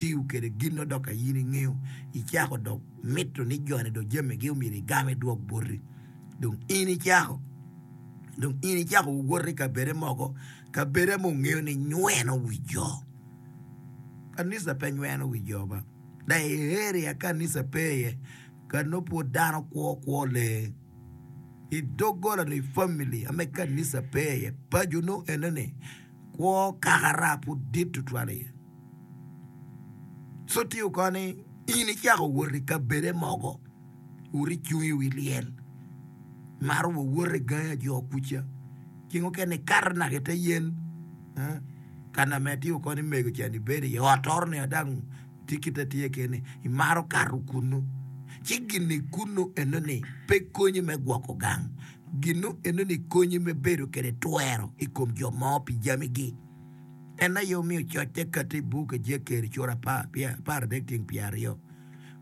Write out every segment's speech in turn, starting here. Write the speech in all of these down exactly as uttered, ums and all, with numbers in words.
Tiyo kwede gin nongo dok ka in ingeyo icako dok mito ni joni dong jamigi omyero igam idwok boti dong in icako dong in icako wot i kabede mogo kabede ma wungeyo ni nyweno wi jo kanisa pe nyweno wi jo ba dok i area kanisa pe iye ka nongo pud dano kwo kwo lee i doggola nyo i famili ame kanisa pe iye paco nongo enoni kwo kakara pud dit tutwal iye. Co tye oko ni in icako wot i kabede mogo, wot icung i wi lyel, imato wa wot i gangi ajo kuca, ceng mukene ikato naka i te yen ka na me tye oko ni mego ca ni bedo iye ot oro ni adang tye kite tye kene imato kato kunu ci gin-ni kunu enoni pe konyi me gwoko gang gin-nu enoni konyi me bedo kede twero i kom jo mo pi jamigi. En aye omiyo coc te katti i buk Ejekiel cura apar adek tyeng pyeraryo,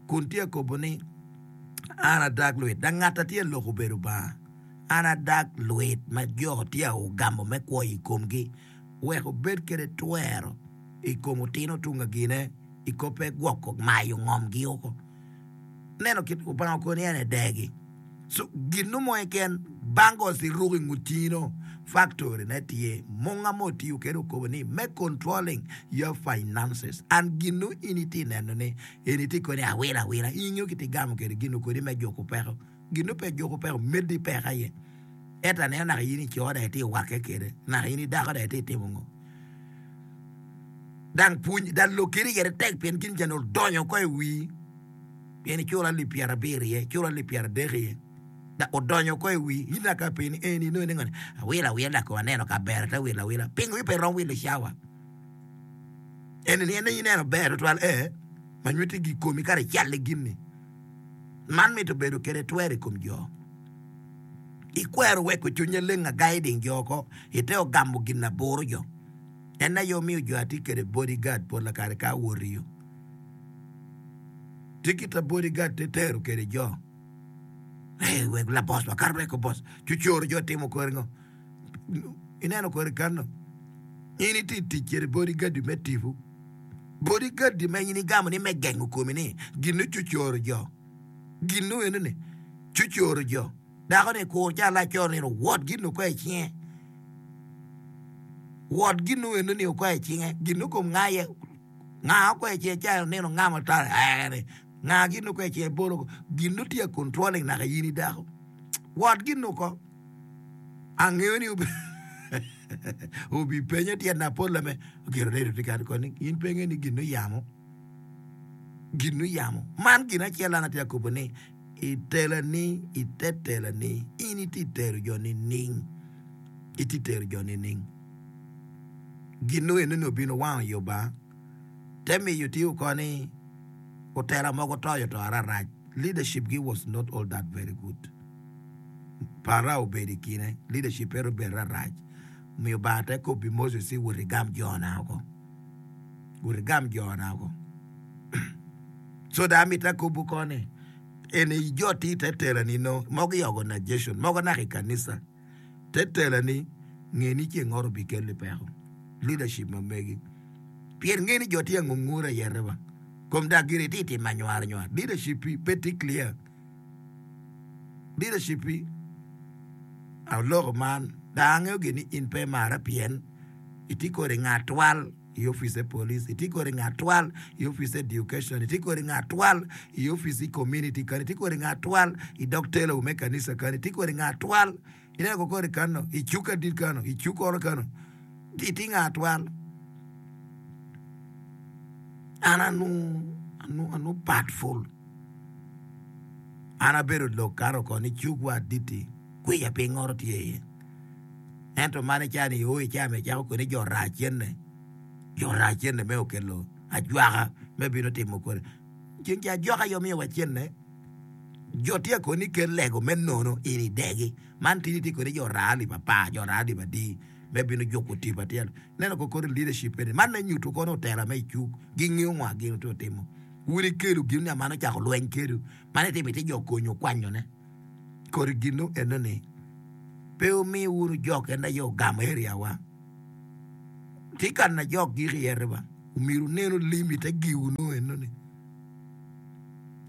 kun tye ka kobo ni, An adag lwit, dok ngat a tye ka lok obedo Lubanga. An adag lwit ma jo tye ka ogamo me kwo i komgi, wek obed kede twero i kom otino tung agine i koppe gwoko mayo ngomgi oko. Neno kit Lubanga okoni ni en edegi. So gin mo keken bangles iruko i ngut cingi-no factory ne tye munga mo otiyo kede okobo ni me controlling your finances and gin no in itye neno ni eni tye koni awila awila in ingeyo kit igamo kede gin okoni me juko peko gin no pe juko peko medi peko aye ento aneno naka in ico dong itye wakke kede naka in idako dong itye timo ngo dang pwony dang lok kede iye tek pien gin jani odonyo oko i wii. Pien iculo alip pyerabiro iye, iculo alip pyeradek iye, dok odonyo oko i wii. In dok ka penyi ni, Eni inongo ni ngo ni? Awilo awila dok kong aneno ka ber ate wilo awila. Pingo in pe irom wilo i cawa? Eni ni en aye ineno ber tutwal? Ee, ma nyutti gi komi kara icalle gin-ni. Man mito bedo kede twero i kom jo. Ikwero weko cwiny leng agai ding jo oko, ite ogamo gin aburo jo. En aye omiyo jo atye kede bodyguard pol kare ka awoto iyo. Tye kit a bodyguard te tero kede jo. Hey, wek la boss wa kar weko boss. Cucoro jo timo kore ngo. Ineno kore kano. In iti tic kede bodyguard me tipo. Bodyguard ma in igamo ni me gengo komi ni gin cucoro jo. Gin no eno ni cucoro jo. Dako ni kur ca laco ni wot gin oko i cinge. Wot gin no eno ni oko i cinge. Gin no kom ngaye. Nga okwe ce ca onino nga ma tar ere nga gin okwe ce bolo gin no tye controlling naka in i dako wot gin oko angeyo ni obi penyo tyen na pol ame gin oredo tye kadi koni in pe ingeyo ni gin oyamo gin oyamo man gin acel an atye akobo ni i tela ni i te tela ni in itye tero jo nining itye tero jo nining. Gin nongo eno ni obino wango i Lubanga, te miyo tye oko ni otela mogo toyo to ararac. Leadership gi was not all that very good. Parao obedo i kine, leadership ere obedo rarac. Omiyo Lubanga te kobbi Moses ni wot igam jona oko. Wot igam jona oko. So dong amito akobwu ko ni eni jo tye i te tela-ni nongo mogo i organization, mogo naka i kanisa. Te tela ni, nge ni ceng ot obikelli peko, leadership ma megi. Pien nge ni jo tye angungur ayete wa. Kom dak gire itye timo anywar anywar. Leadership pi pe tye clear. Leadership pi aloko man dong angeyo gin ni in pe imara pien itye kodi ngat twal i office e police, itye kodi ngat twal i office education, itye kodi ngat twal i office i community kany, itye kodi ngat twal i dog telo me kanisa kany, itye kodi ngat twal ineno ko kodi kano i cuk adit kano i cuk oro kano itye ngat twal. An anu anu anu pat ful an abedo lok kano ko ni cuk wa aditi kwica piny oro tye iye. Ento man ica ni o ica me cako kwede jo raa cente, jo raa cente me okelo ajwaka me bino timo kwede. Ceng ca ajwaka aye omiyo wa cente, jo tye koni ni kel lego me nono in idegi. Man tini tye kodi jo raa alip apar, jo raa alip adi me bino juko tipo atyelo. Ineno ko kodi leadership eni, man me nyuto kono otela me icuk gingeyo ngo gin tye otimo. Wun ikelo gin ni man ocako lweny kedu, man itimo ite jo konyo kwanyone. Kodi gin eno ni pe wumi wunu jok en aye ogamo area wa. Tye ka na jok gik iye riba. Omyero wunenu lim i te giwu nongo enoni.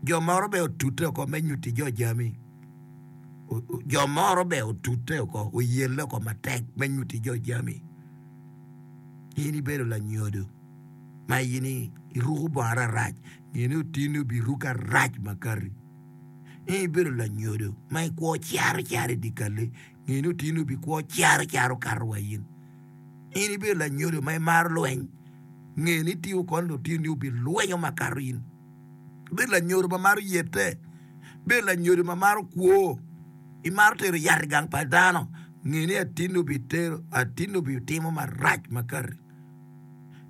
Jo moro bene otute oko me nyutti jo jami. Jo moro bene otute oko, oyelle oko matek me nyutti jo jami. In ibedo lanyodo ma in iruko bongo ararac, nge ni otinni obiruko arac makati. In ibedo lanyodo ma ikwo caro caro i dyekal-li, nge ni otinni obikwo caro caro kato wa in. In ibedo lanyodo ma imaro lweny, nge ni tingo kono lutinoni obilwenyo makato in. Ibedo lanyodo ma maro yette, ibedo lanyodo ma maro kwo, imaro tero yat i gang pa dano, nge ni atinni obitero, atinni obitimo marac makati.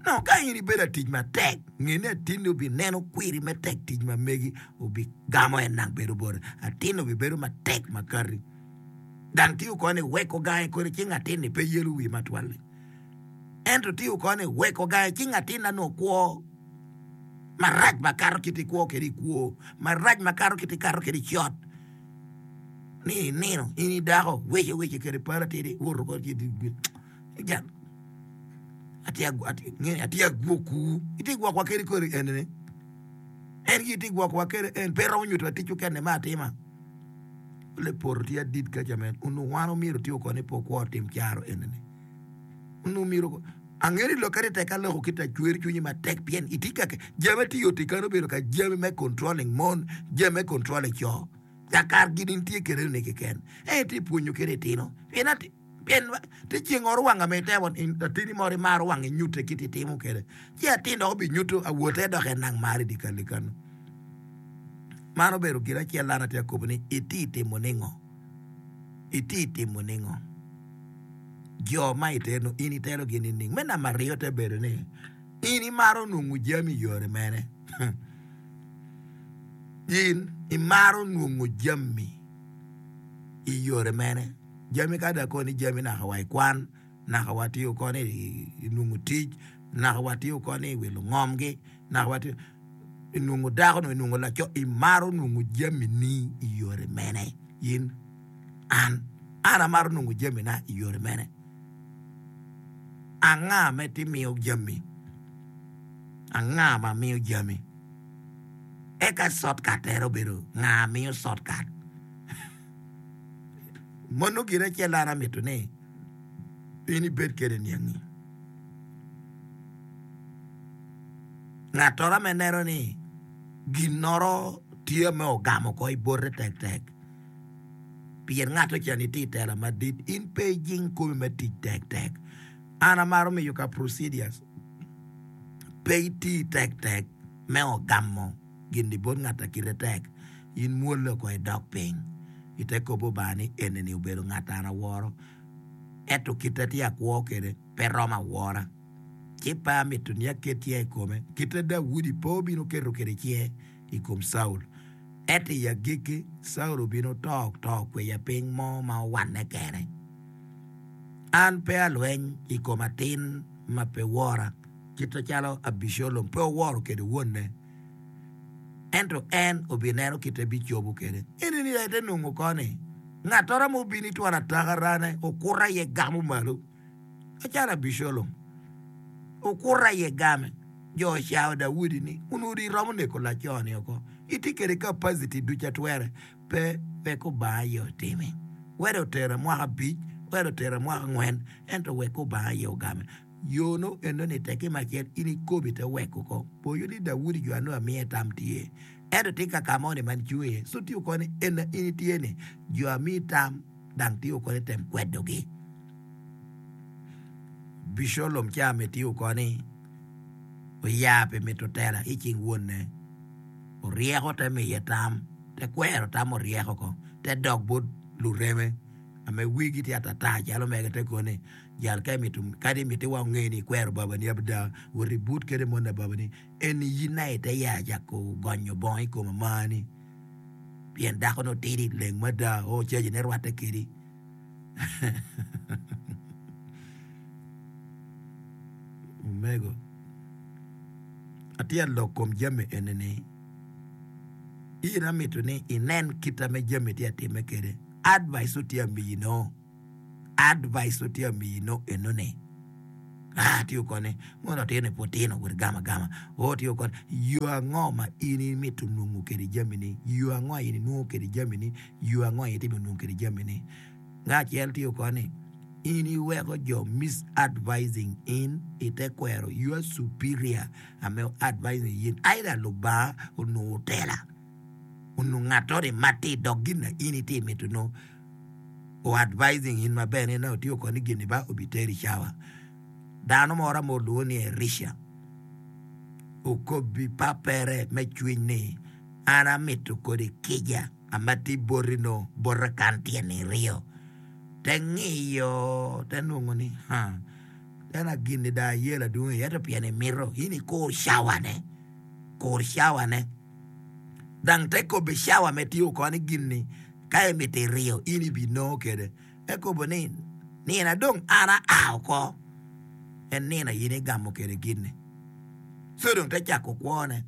Nongo ka in ibedo atic matek, nge ni atinni obineno kwiri me tek tic ma megi, obigamo en nang bedo bote. Atinni obibedo matek makati. Dang tiyo koni weko gange kodi ci ngatinni pe yelo wiye matwal-li. Ento tiyo koni weko gange ci ngatinna nongo kwo marac makato kit ikwo kwede i kwo, marac makato kit ikato kwede i cot. Ni inino in i dako wece wece kede pala tidi woto kodi ci jal atye agwokowu itye gwokwa kede kodi enini en gin itye gwokowa kede en pe romo nyuto tic okene me atima. Le poto tye adit kaca men onongo wan omyero otiyo koni pe okwo tim caro enini. Onongo myero angeyo ni lok kadi tek aloko kit acwer cwinyi matek pien itye ka jami atye oti kany obedo ka jami me controlling mon jami me controlling co kakar gin in tye kwede ni keken en itye pwonyo kede itino pien pien tye ceng oro wanga me itemo atini moro imaro wang inyute kit itimo kwede ci atin dok obinyuto awote dok en nang mari di kali kanu. Man obedo gin acel an atye ka kobo ni itye timo ningo? Itye timo ningo? Jo ma iteno in itelogi nining? Me namba aryo te bedo ni in imaro nongo jami i yore mene? In imaro nongo jami i yore mene? Jami ka dong akoni jami naka wa i kwan, naka wa tiyo koni i nongo tic, naka wa tiyo koni i wilo ngomgi, naka wa tiyo i nongo dako nyo i nongo laco, imaro nongo jamini i yore mene? In, an, an amaro nongo jamina i yore mene? Anga ma itye miyo jami? Anga ma miyo jami? Eka shortcut tere obedo nga miyo shortcut? Mono gin acel an amito ni in ibed kwede niangi. Ngattoro ame neno ni ginnoro tye me ogamo oko i bote tektek pien ngat ocen itye i tela madit in pe ijing komi me tic tektek. An amaro miyo ka procedures pe iti tektek me ogamo gin-ni bot ngat a kite tek. In mwolle oko idok piny ite kop Lubanga ni eni-ni obedo ngat an aworo ento kite tye akwo kwede pe romo awora. Ci pe amito ni aket cinga i kome, kite Daudi pe obino keto kwede cinge i kom Caul. Ento i agikki, Caul obino to to kweya piny mo ma owanne kene. An pe alweny i kom atin ma pe wora, kit macalo Abicalom pe oworo kwede wonne, ento en obineno kite bicobo kwede. Eni aye te nongo koni, ngattoro ma obino i twon atakarane okuto aye gamo malo. Macalo Abicalom okuto aye game, jo ocao Daudi ni, Onongo iromo neko laco-ni oko. Itye kwede kapaciti ducu atwere. Pe, wek Lubanga aye otimi. Wek otera mwaka abic, wek otera mwaka angwen, ento wek Lubanga aye ogame. Yo no enoni tekki macel in ikobi te wek oko. Poyo ni Daudi jo anongo amiye tam tye. Ento tye ka ka mo ni man cung iye. So tye oko ni ena in itye ni jo amiyi tam dang tye oko ni tem kwedogi. Abicalom ca me tye oko ni oya pi mito tela i cing wonne. Oryeko te miye tam, te kwero tam oryeko ko, te dok bot lureme ame wigi tye atata calo mege te koni jal ka imito kadi imiti wa onge ni ikwero babani abda wot ibut kede moni babani eni in aye ite ya cako gonyo bongo i kom amani pien dako nongo tidi leng mada o caji ne rwatte kedi. Omego, atye ka lok kom jami eni-ni, in amito ni inen kit ma jami tye ka timme kwede. Advice tye amiyi no, advice tye amiyi no enoni. Ah, tiyo koni, mono otino pud tino wot gamo agama. O tiyo koni, yo ango ma in imito nongo kwede jamini? Yo ango in inwongo kwede jamini? Yo ango in itimo nongo kwede jamini? Nga acel tiyo koni, in iweko jo misadvising in ite kwero your superior ame advising in. Either Lubanga onongo otela, onongo ngatoni matir dok gin na in itye mito nongo o advising in maber ni nongo tiyo koni gini ba obiteri cawa. Dano moro ame olwongo ni Erica okobbi papere me cwiny ni, An amito kodi kica ama tye boti no bota kan tyen iryo. Te ngiyo te nongo ni, Ha, ena gin-ni dong ayelo adwong iye ento pien imito in ikur cawane, kur cawane. Dang te kobbe cawa me tiyo koni gin-ni ka imito iryo in ibinongo kwede. Ekobo ni, Nino dong an aa oko, en nino in igamo kwede gin-ni. Co dong te cako kwone.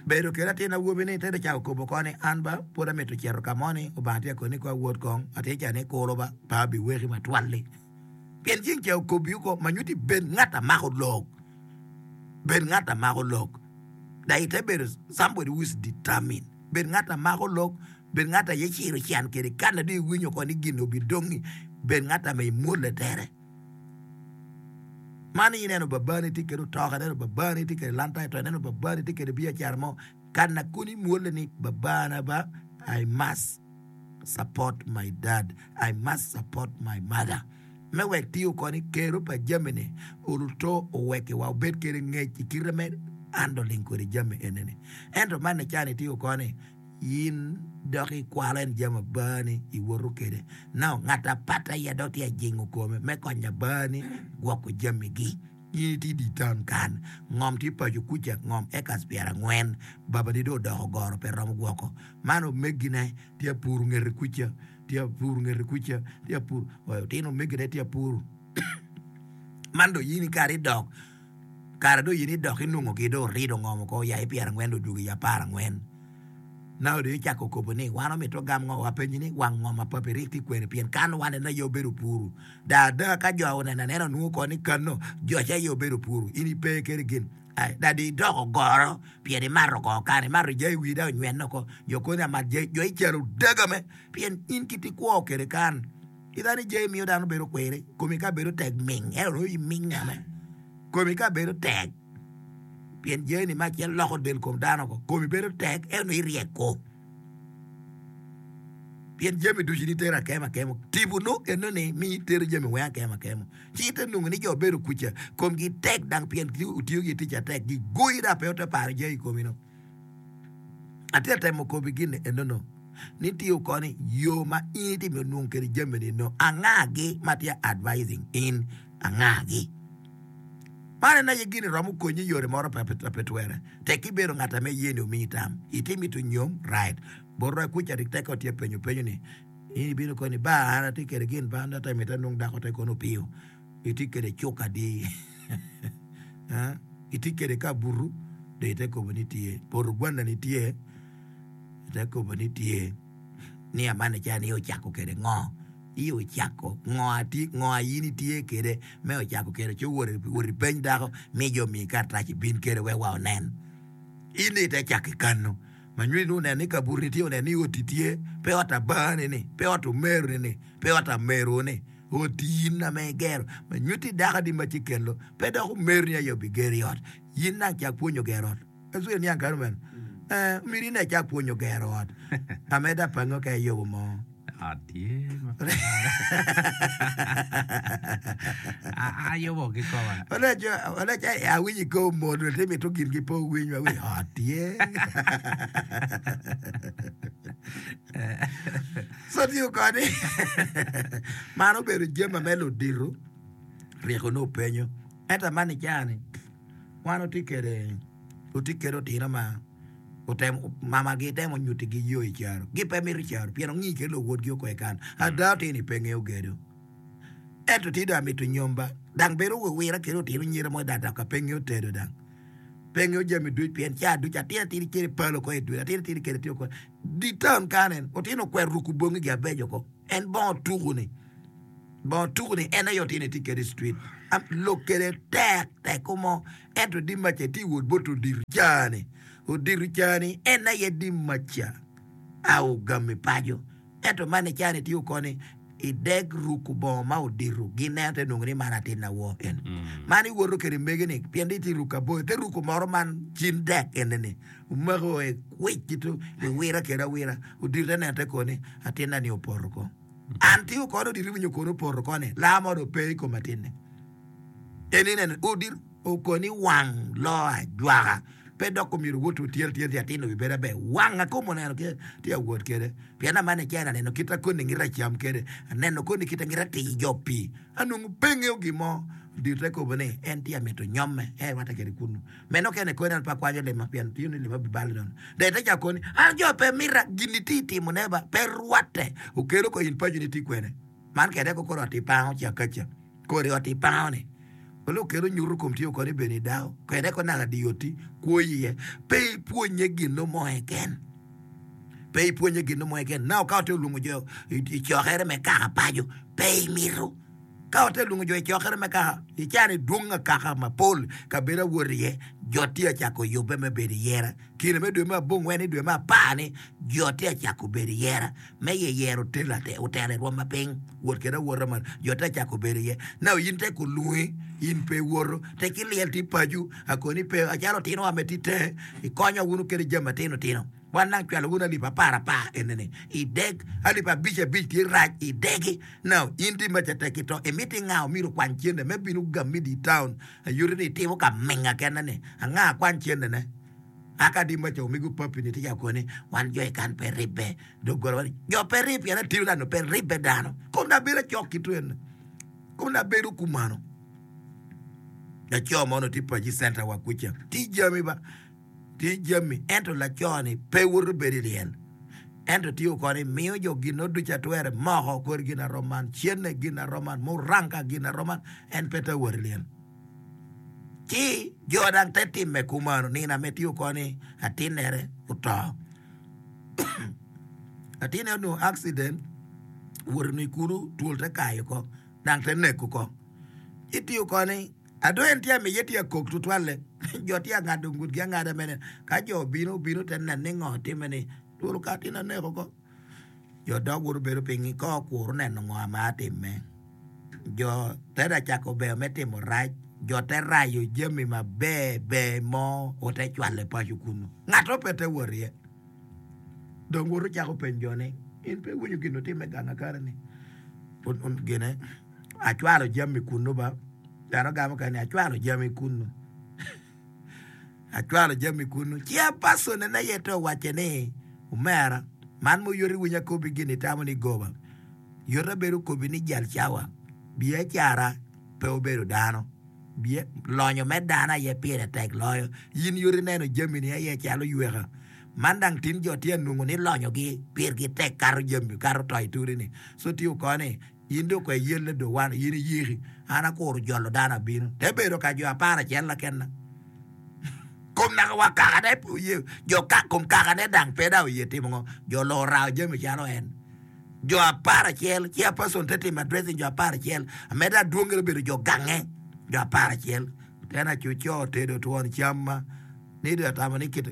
Bedo kede atin awobi-ni te dong cako kobo oko ni, An ba pud amito cito ka mo ni, Obanga tye ka koni ni kong awot kong, atin ca ni kuro ba, pe abiweki matwal-li. Pien ceng ca okobi oko ma nyutti bed ngat a mako lok, bed ngat a mako lok. Dok ite bedo somebody who is determined. Bed ngat a mako lok, bed ngat aye ciro can kede kana dong iwinyo oko ni gin obidongi, bed ngat ame imwolle tere. Man ineno babani tye kede otoka, ineno babani tye kede lantai to, ineno babani tye kede biacara mo, kana kono imwolle ni babana ba I must support my dad, I must support my mother. Me wek tiyo koni kero pa jami-ni oluto owekiwa obed kede ngec i kite me handling kwede jami enini. Ento man ni cani tiyo koni in dok ikwalo en jami abani iwoto kede. Now ngat apat aye dok tye ajingo kome me konyo abani gwoko jamigi. In itye i dye town kan, ngom tye paco kuca, ngom acres pyerangwen, babani dong odoko goro pe romo gwoko. Man omegine tye apuro ngete kuca. Tye apuru ngete kuca, tye apuru, otino omegine tye apuru. Man dong in kare idok, kare dong in idok inongo gi dong orido ngom oko oya i pyerangwen dong odwogo i apar angwen. Now dong icako kobo ni wan omito gam ngo, wapenyi ni wang ngom ma papi rik tye kwene pien kan wan en aye obedo puru. Da ada ka jo oneno anena onwongo ko ni kano jo ca aye obedo puru in ipe kede gin. Ai, da dong idoko goro pien imato kongo kan, imato jai wii dong onywene oko, jo koni amat jai, jo icalo daga me pien in kit ikwo kwede kan. Ita ni jai miyo dano bedo kwiri, komi ka bedo tek ming, ento nongo iming ame. Komi ka bedo tek, pien jai ni mac en loko del kom dano oko, komi bedo tek ento nongo iryeko. Pien jami ducu ni tero akemo akemo, tipo nongo eno ni miyo itero jami weng akemo akemo. Ci ite nongo ni jo bedo kuca komgi tek dang pien otiyo ki tic atek gigoyi dok pe ote paro jami i komi no. Atye ka temo kobi gin eno no ni tiyo koni yo ma in itye me nongo kwede jami ni no anga gi ma tye advising in anga gi. Man en aye gin romo konyi i yore moro pe twere tek ibedo ngat ame ye ni omiyi tam iti mito nyom right bot kuca rik teko tye penyo penyo ni In ibino koni, Ba, an atye kwede gin pa an ata mito anong dako te kono opiyo. Itye kwede cuk adi? Itye kwede ka butu? Dong ite kobo ni tye. Poto gwanna ni tye? Ite kobo ni tye. Ni amane ca ni ocako kwede ngo? I ocako ngo atye ngo a in itye kwede me ocako kwede ci owot owot ipeny dako mi jo omiyi karatac ibin kwede wek wa onen. In ite cako i kano. Ma nywene nongo oneno ni kabuto-ni tye, oneno ni oti tye, pe ot abani-ni, pe ot omeru-ni, pe ot ameru-ni, oti in ame igero. Ma nyutti dako-ni ma ci kelo, pe dok omeru-ni aye obigero i ot. In nang cak pwonyo gero ot. Ecwe niang kany omeno? Eh, myero in aye icak pwonyo gero ot. Ameda apango ka iyubo mo. Ot tye ma pe ayubo kikoma. Oleca awinyo i kor mot tye mito gingi pe owiny wa ot tye. So tiyo kodi man obedo jami me ludito ryeko nongo penyo ento man i caa-ni wan watye kwede watye kwede otino ma otemo mamagi temo nyutigi yo i caro gipe mito caro pien ongi kede luwotgi okwe kan ada otino i pe ngeyo gedo ento tye dong amito nyom ba dang bedo wiwira kede otino nyira mo dang dok ka pe ngeyo tedo dang pe ngeyo jami duc pien ca duc atin atin kede palo ko i dwe atin atin kede tye ko di town kan en otino okwero ruko bongi gi abeco ko en bongo tuku ni bongo tuku ni en aye otino tye kede i street. Lok kede tek teko mo ento di maca ti wot bot odiro cani odiro cani en aye di maca au gami paco ento man icani tye okoni ideg ruko bongo ma odiro gineno te nongo ni man atin awo en man iwoto kede mege ni pien di tye ruko aboyo te ruko moro man cin dek ene-ni omako e kwic kito iwira kede awira odiro te neno te koni atinna ni opoto ko an tye okoni odiro iwinyo koni opoto koni laa mo dong pe i kom atinne en ineno odiro okoni wang lo ajwaka pe dok omyero wot otyero tyero ti atin obibedo aber wang akom oneno ke tye awot kede pien amane icen aneno kit akoni ngita cam kede aneno koni kit ngita tii jo pii anongo pe ngeo gin mo odiro te kobo ni en tye amito nyomme en rwatte kede kunu meno kene koni an pe akwanyo lima pien tiyo ni lima bibalo nono dong ite cako koni an jo pe mita gin itye itimone ba pe rwatte okelo ko in paco ni tye kwene man kede ko koro ot ipango ca kaca kori ot ipango ni olo okelo nyuto kom tye okoni bene idako kede ko naka di oti kwo iye pe ipwonye gino mo keken pe ipwonye gino mo keken na ka ote olwongo jo i cokere me kaka paco pe imito ka ote olwongo jo i cokere me kaka icano idwong akaka mapol kabedo awot iye jo tye acako yubbe me bedo iyera kine me dwe me abongwen i dwe me apar ni jo tye acako bedo iyera me yeyero otelo otelo i rwom ma piny wot kede awota malo jo tye acako bedo iye na in te kulungi in pe iwoto te ki lyel ti paco akoni pe acalo otinowa me ti tenge ikonyo wunu kede jami matino tino wan nang cwalo wunu alip apar apar enini ideg alip abic abic tye rac idegi now in ti maca tek ito imiti nga omyero okwany cente me bino gami di town ayuti ni itimo ka minga kene ni anga kwany cente ne aka di maca omego papi ni tye koni wan jo ikan pe ribbe doggola wan jo pe rib pien atiyo dano pe ribbe dano kom na bedo acok ki twene kom na bedo kumano laco mo tye paci center wa kuca ti jami ba ti jami ento laco ni pe woto bedo i lyel ento tye okoni miyo jo gin no ducu atwere moko kor gin aroman cene gin aroman muranga gin aroman en pe te wot i lyel ci jo dang te timme kumano nina me tye okoni atinere oto atine onongo accident woto ni kulu twol te kayo ko dang te neko ko itiyo koni ado en tye amiye tye akok tutwalle jo tye angado ngutgi angada mene ka jo obino obino te neno ni ngo time ni twol ka atin aneko ko jo dok woto bedo piny ko okuro neno ngo ma atime jo te da cako ber me timo rac jo te rayo jami maber ber mo ote cwalo paco kunu ngato pe te wot iye dong woto cako penjo jo ni in pe iwinyo gin otime gang akare ni gine acwalo jami kunu ba dano gamo kene ni acwalo jami kunu acwalo jami kunu ci apaco ne aye te owacce ni omera man mo yot iwinyo akobi gin itamo ni goba yot abedo kobi ni jal cawa biacara pe obedo dano lonyo me dano aye pire tek loyo in yot ineno jami ni aye calo yweka man dang tin jo tye anongo ni lonyogi pirgi tek kato jami kato to ituri ni so tye okoni in dong kwe yelle do wan in iyiki an akuro jolo dano abino te bedo ka jo apar acel la kena kom naka wa kakane pe oye jo ka kom kakane dang pe da oye timo ngo jo lo rao jami calo en jo apar acel ci a person te timo addressing jo apar acel ameda adwongere obedo jo gange jo apar acel tena acuco tedo twon cam ma ni do atamo ni kit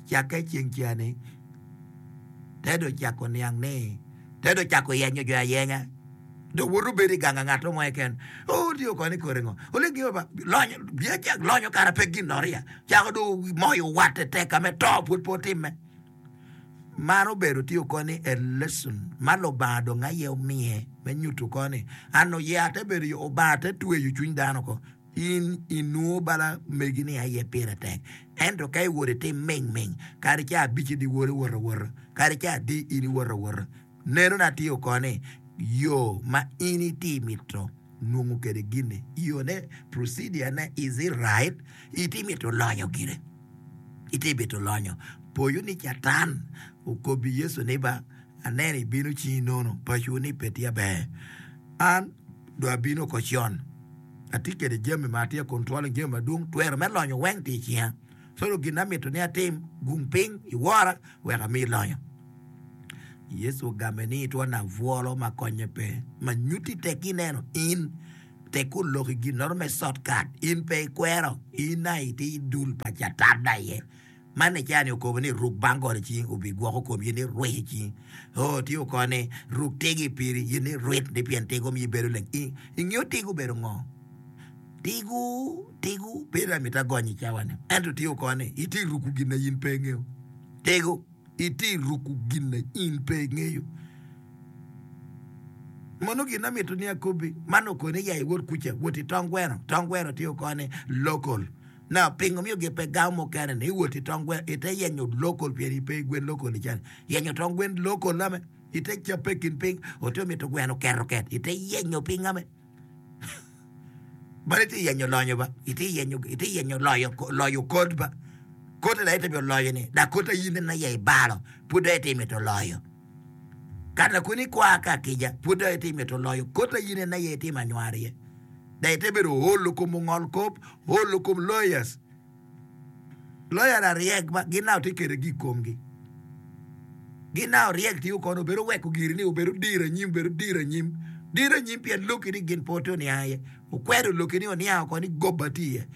cakke ceng cani tedo cako niang ni tedo cako yenyo jo ayenya do woto bedo i gang ngat mo keken o tye okoni kore ngo ole gimo ba lonyo biaca lonyo kara pe gin noria cako do moyo watte tek ame to pud pe otimme man obedo tye okoni a lesson ma Lubanga dong aye omiye me nyuto koni an oye ate bedo yo Obanga te tweyo cwiny dano ko in inwo bala megi ni aye pire tek ento ka iwot itim ming ming kadi ca abic idi wot iwot awota kadi ca adi in iwot awota neno na tye okoni yo ma in iti mito nongo kede gini yo ne procedure ne is it right iti mito lonyo gire iti mito lonyo poyo ni catan okobi Yecu ni ba aneno ibino cingi nono paco ni pe tye aber an do abino ko con atye kede jami ma atye controlling jami madwong twero me lonyo weng tye i cinga so gin amito ni atim gung piny iwora wek ami lonyo Yecu ogame ni itwon abwolo ma konye pe ma nyuti tek ineno in Tek olok i gin me shortcut in pe ikwero in aye itye i dul pa catan aye. Man i caa-ni okobo ni ruk bangol i cingi obigwoko komi in irwec i cingi. Oo tye oko ni ruk tigo i piri in irwit ni pien tigo miyo ibedo leng. Ingeyo tigo obedo ngo? Tigo, tigo pe dong amito agony i cawa-ni. Ento tye oko ni itye ruko gin na in pe ingeyo. Tigo, itye ruko gin na in pe ingeyo. Mono gin amito ni akobi, man okoni ya iwot kuca, wot i tong gweno. Tong gweno tye oko ni local. Now, pingo miyo gi pe gamo mukene ni iwot i tong gweno, ite yenyo local pien ipe i gwen local i cani. Yenyo tong gwen local ame, ite cape i kin piny, ote mito gweno keto ket, ite yenyo piny ame. Bal ite yenyo lonyo ba, ite yenyo, ite yenyo loyo, loyo kod ba. Kote da ite bi loyo ni, da kote in en aye ibalo, pud dong ite mito loyo. Kata kun ikwa ka kica, pud dong ite mito loyo, kote in en aye itimo anywar iye. Da ite bedo olo kom ongol kop, olo kom lawyers. Lawyer aryek ba gin na tye kwede gi i komgi. Gin na oryek tiyo kono obedo weko giri ni obedo dir anyim, obedo dir anyim. Dir anyim pien lokki ni gin pe ote oniang iye. Okwedo lokki ni oniang oko ni goba tye iye.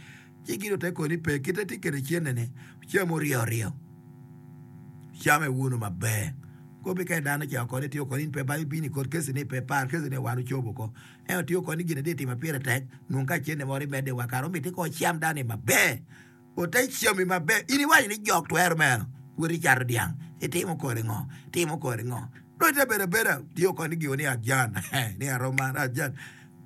Ci gin ote koni pe kite tye kwede cente-ni cam oryo oryo. Came wunu maber. Kobi ka dano ca oko ni tiyo koni in pe ba ibino i kot kesi ni pe par kesi ni wan ocobo oko. Ento tiyo koni gin atye timo pire tek nwong ka cente moro imedde wa kare omiti ko cam dano-ni maber. Ote cami maber. In iwaco ni jok twero meno wot icato dyang itimo kodi ngo itimo kodi ngo dong ite bedo abeda tiyo koni giwo ni ajan ni aroman ajan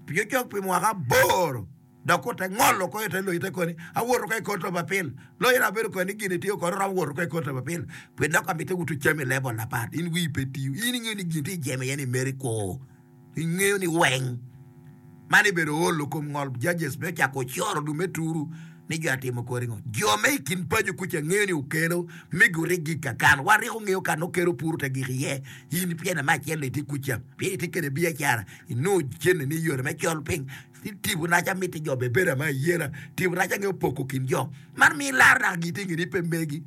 pi cok pi mwaka aboro dok ote ngolo ko ite loyi te koni awoto ka i court of appeal loyi na abedo koni gin itiyo kodi romo woto ka i court of appeal pi dok amite wuto cami level apat in wii pe tiyo in ingeyo ni gin tye ijemo iye ni meri kur. Ingeyo ni weng man ibedo olo kom ngol judges me cako coro dul me turu ni jo atimo kodi ngo. Jo me i kin paco kuca ngeyo ni okelo me gurigi kakan. Wan ryeko ngeyo kan okelo puru te gik iye. In pyene me acel itye kuca pien itye kede biacara inongo cene ni yore me col piny ci tipo naca miti jo be bedo ama ayela tipo naca ngeyo poko kin jo man miyo ilaro naka giti nge ni pe megi.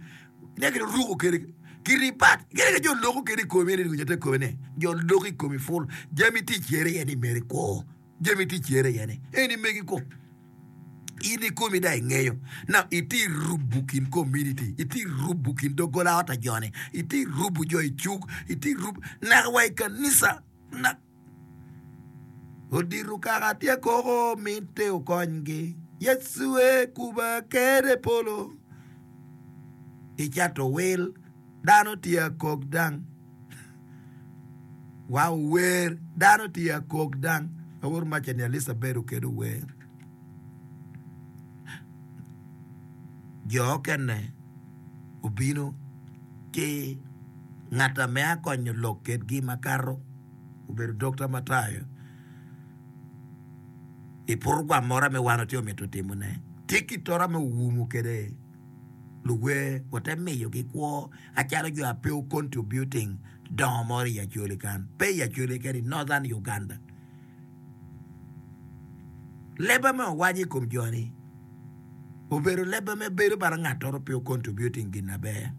Ne gin oruko kede kiti pat gin jo loko kede i komi eni te komi ni jo loko i komi ful jami tye cere iye ni meri kwo jami tye cere iye ni eni megi kwo in i komi da ingeyo na itye rubu kin community itye rubu kin dogola ot a joni itye rubu jo i cuk itye rubu naka wa i kanisa na Odito kaka tye koko mitte okonygi. Yecu e kuba kede polo. I cato wil dano tye akok dang. Wa ower dano tye akok dang. Awor maca ni Elizabeth okedo wer. Jo okene obino ki ngat ame akonyo lok kedgi makato. Obedo Dokta Matayo i program moro me wan watye mito timone. Tye ki tora me owumo kede luwer ote miyogi kwo acalo jo a pe contributing dongo moro i Acholi kan pe i Acholi keken i Northern Uganda. Leba me owaco i kom joni obedo leba me bedo bala ngat pe contributing gin maber.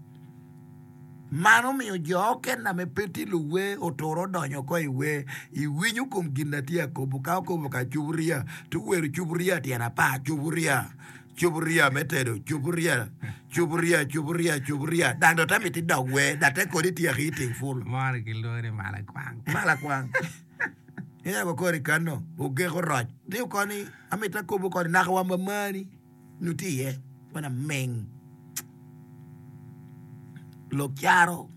Man omiyo jo okene ame pe tye luwer oturo odonyo oko i wer. Iwinyo kom gin na tye akobo ka okobo ka cuburia to wero cuburia tyen apar cuburia cuburia me tedo cuburia cuburia cuburia cuburia dang dong te miti dok wer dok te kodi tyeki iting pul. Moro kilwongo ni malakwang. Malakwang. Ineno kori kano ogeko roc. Tye koni amito akobo koni naka wa mamani. Nyo tye iye wan aming lok caro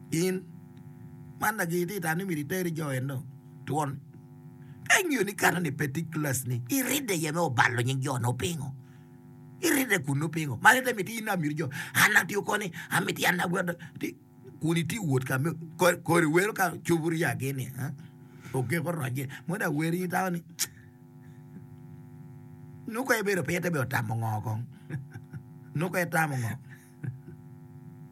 in man lagi itye tamo ni myero iter jo eno twon ka ingeyo ni kano ni pe tye class ni iridde iye me obalo nying jo no pingo iridde kunu pingo man ite miti in amyero jo an atiyo koni amiti an agwero kun itye wot ka kori wero ka cobo riya gini ogeko roc modo aweri itamo ni Nongo ka ibedo piny ite bedo tamo ngo kong? Nongo ka itamo ngo?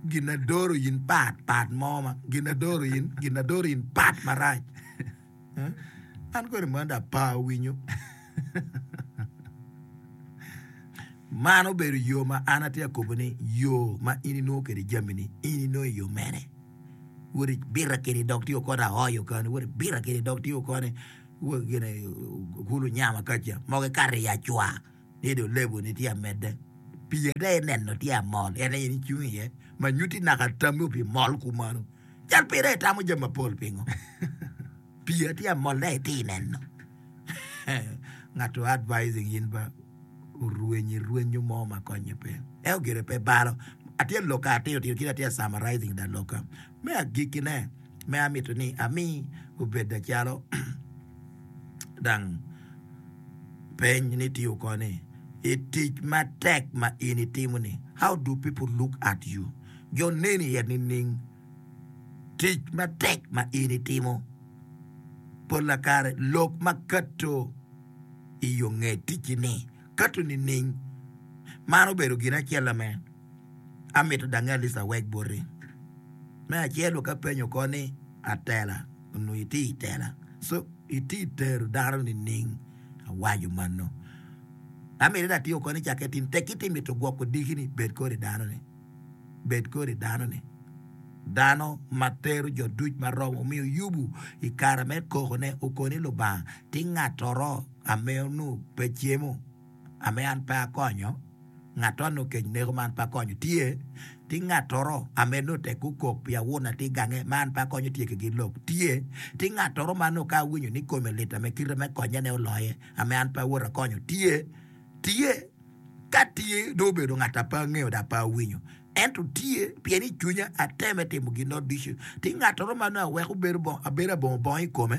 Gin na doro in pat pat mo ma gin na doro in gin na doro in pat marac. An kodi mono dong apa winyo. Man obedo yo ma an atye ka kobo ni yo ma in inongo kwede jami-ni in inongo i yo mene? Wot ibita kede i dog tiyo kodi aoyo kani, wot ibita kede i dog tiyo koni. Gine kulu nyama kaca mogo ikato i acwa ni dong lebo-ni tye amedde pii ade ineno tye amol en aye in icung iye ma nyutti naka tammi obimol kumano cal pire itamo jami mapol pingo pii aye tye amol dong itye ineno ngat o advising in ba orwenyi rwenyo mo ma konye pe ento gire pe balo atye loka atino tino kit atye summarizing da loka me agikkine me amito ni ami obed calo dang peny ni tiyo koni i tic matek ma in itimo ni how do people look at you jo neni iye nining tic matek ma in itimo pola kare lok ma kato i yo nge ticci ni kato nining man obedo gin acel ame amito dange at least awek boti me acel ka penyo koni atela onongo itye i tela so itye i tero dano nining awaco mano amito ni atiyo koni cakke tin tekki ti mito gwoko diki-ni bed kodi dano-ni bed kodi dano-ni dano ma tero jo duc ma romo omiyo Yubu i kare me kokone okoni Lubanga ti ngatoro ame onongo pe cemo ame an pe akonyo ngat onongo kec neko ma an pe akonyo tye ti ngatoro ame nongo tek gukok pi awuna ti gange ma an pe akonyo tye ki lok tye ti ngatoro ma nongo ka awinyo ni kome lit ame kite me konyane oloye ame an pe awoto akonyo tye tye ka tye dong obedo ngat a pe angeyo dok pe awinyo ento tye pien i cwinya ateme timo gin no ducu ti ngatoro ma nongo aweko bedo abedo abongo bongo i kome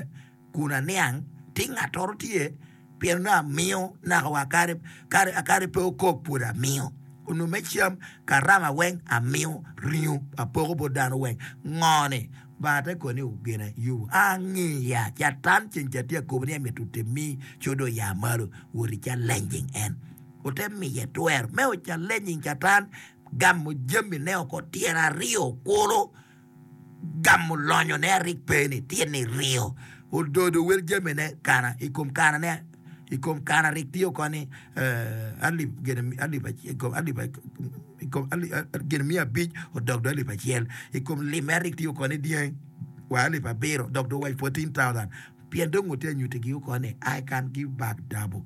kun aniang ti ngatoro tye pien nongo amiyo naka wa kare kare akare pe okok pud amiyo onongo me cam karama weng amiyo ringo apoko bot dano weng ngo ni Lubanga te koni gine Yubu angiya catan ceng ca tye akobo ni emito timi ci dong oya malo wot i challenging en ote miye twero me o challenging catan gamo jamine oko tyen aryo kulu gamo lonyone arik pe ni tyen iryo ododo wel jamine kana i kom kanane i kom kana rik tye oko ni alip gin alip alip i kom gin miya abic odok dong alip acel i kom limme arik tye oko ni dyang wa alip abiro dok dong wa fourteen thousand pien dong otye anyutigi oko ni I can give back double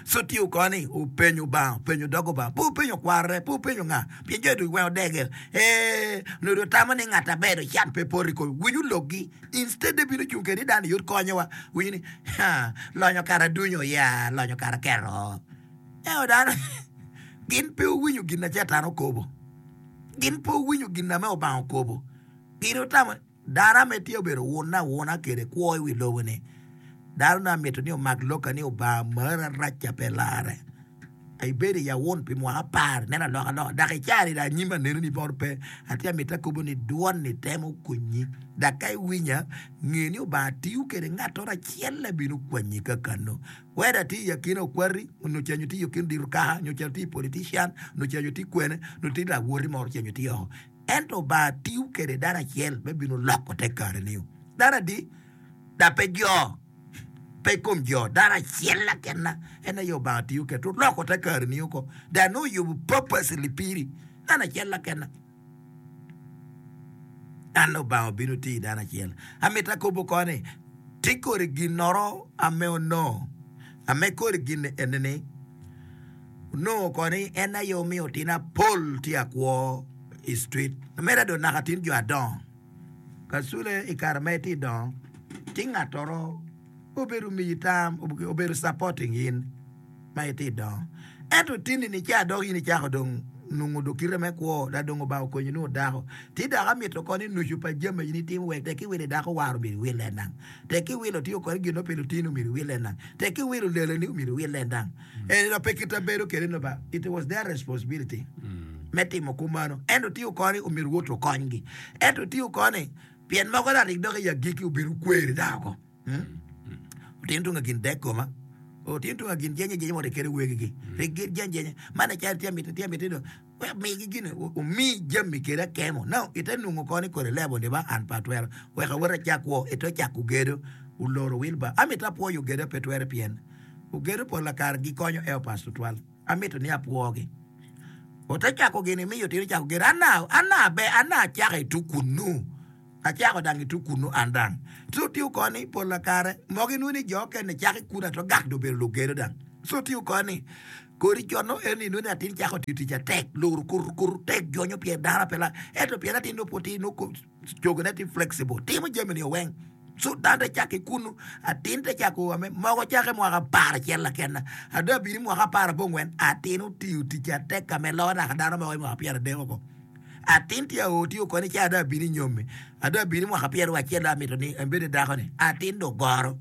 so tye oko ni openyo Obanga openyo dog Obanga pe openyo kwarre pe openyo nga pien jo ducu weng odege ee onongo otamo ni ngat aber can pe poto i kome winyo lokgi instead ebino cung kede ni dano yot konyowa winyo ni lonyo kara adunyo ya lonyo kara keto ento dano gin pe owinyo gin na catan okobo gin pe owinyo gin na me Obanga okobo gin otamo dano ame tye obedo wun awuna kede kwo i wi lobo ni dano na mito ni omak loka ni Obanga mara raca pe lare ibedo i awun pi mwaka apar neno alokaloka dok icari dong anyim aneno ni moro pe atye amito akobo ni dwon-ni temo konyi dok ka iwinya nge ni Obanga tiyo kede ngatoro acel ebino kwanyi ka kano whether tye i akina okwati onyo cenyo tye i akina odiro kaka nyo cenyo tye i politician nyo cenyo tye kwene nyo tye lawoti moro cenyo tye oko ento Obanga tiyo kede dano acel me bino loko te kare-ni dano adi dok pe jo pe kom jo dano acel akena en aye Obanga tiyo kede oloko te kare-ni oko dok nongo oyubo purposely piri dano acel akena an Obanga obino tiyo i dano acel amito akobo koni ti kodi ginoro ame onongo ame kodi gin enini onongo koni en aye omiyo tina pol tye akwo i street ameda dong naka tin jo adongo kasule i kare ma itye dongo ti ngatoro obedo miyi tam obedo supporting in ma itye dongo ento tini ni ca dok in icako dong nongo dong kite me kwo dok dong Obanga okonyi nongo dako ti dok amito koni nucu pa jami in itimo wek tek iwilo dako waro myero iwile nang tek iwilo tye koni gin mo pi lutini myero iwile nang tek iwilo leleni myero iwile nang eni dok pe kite bedo kede no ba it was their responsibility me timo kumano ento tye koni omyero wot okonygi ento tye koni pien mogo dok rik dok i agikki obedo kweri dako otin tunga gin dek koma otin tunga gin jenye jenye moto kede wegigi rik gin jeny jenye man acalo tye miti tye miti do wek migi gin omi jami kede akemo now ite nongo koni kodi lebo ni ba an pe atwero wek awot acak kwo ite ocako gedo oloro wilba amito apwoyo ogedo pe twere pien ogedo pol kare gikonyo helpers tutwal amito ni apwogi ote cako gini miyo tino cako gedo an an abe an acako i tuk kunu Acako dang itu kunu an dang. So tiyo koni pol kare mogo inwongo ni jo okene cako i kunu ato gak dong obedo lugedo dang. So tiyo koni kodi con nongo en inwongo ni atin cako tiyo tic atek loro kur kur tek jonyo pien dano pe la ento pien atin nongo pud tye nongo cogone tye flexible timo jami ni weng. So dano te cako i kunu atin te cako ame mogo cako i mwaka apar acel lakena ada bino i mwaka apar abongwen atin otiyo tic atek ka me loyo naka dano mogo i mwaka pyeradek oko. Atin tye aoo tiyo koni ca ada abino i nyomme ada abino i mwaka pyeraryo acel dong amito ni ebed dako ni atin dong ogoro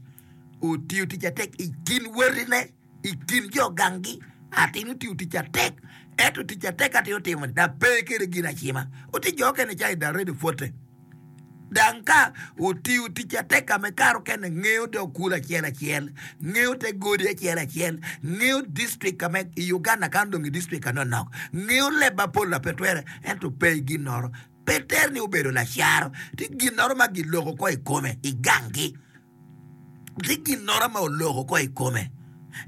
otiyo tic atek i kin wadine i kin jo ganggi atin otiyo tic atek ento tic atek atin otimo ni dong pe kede gin acima oti jo okene ca i already pwote dang ka otiyo tic atek ka me kare okene ngeyo dog kul acel acel ngeyo te godi acel acel ngeyo district ka me i Uganda kan dong i district ka nonok ngeyo leb mapol na pe twere ento pe i ginoro pe tere ni obedo lacaro tye ginoro ma giloko ko i kome i ganggi tye ginoro ma oloko ko i kome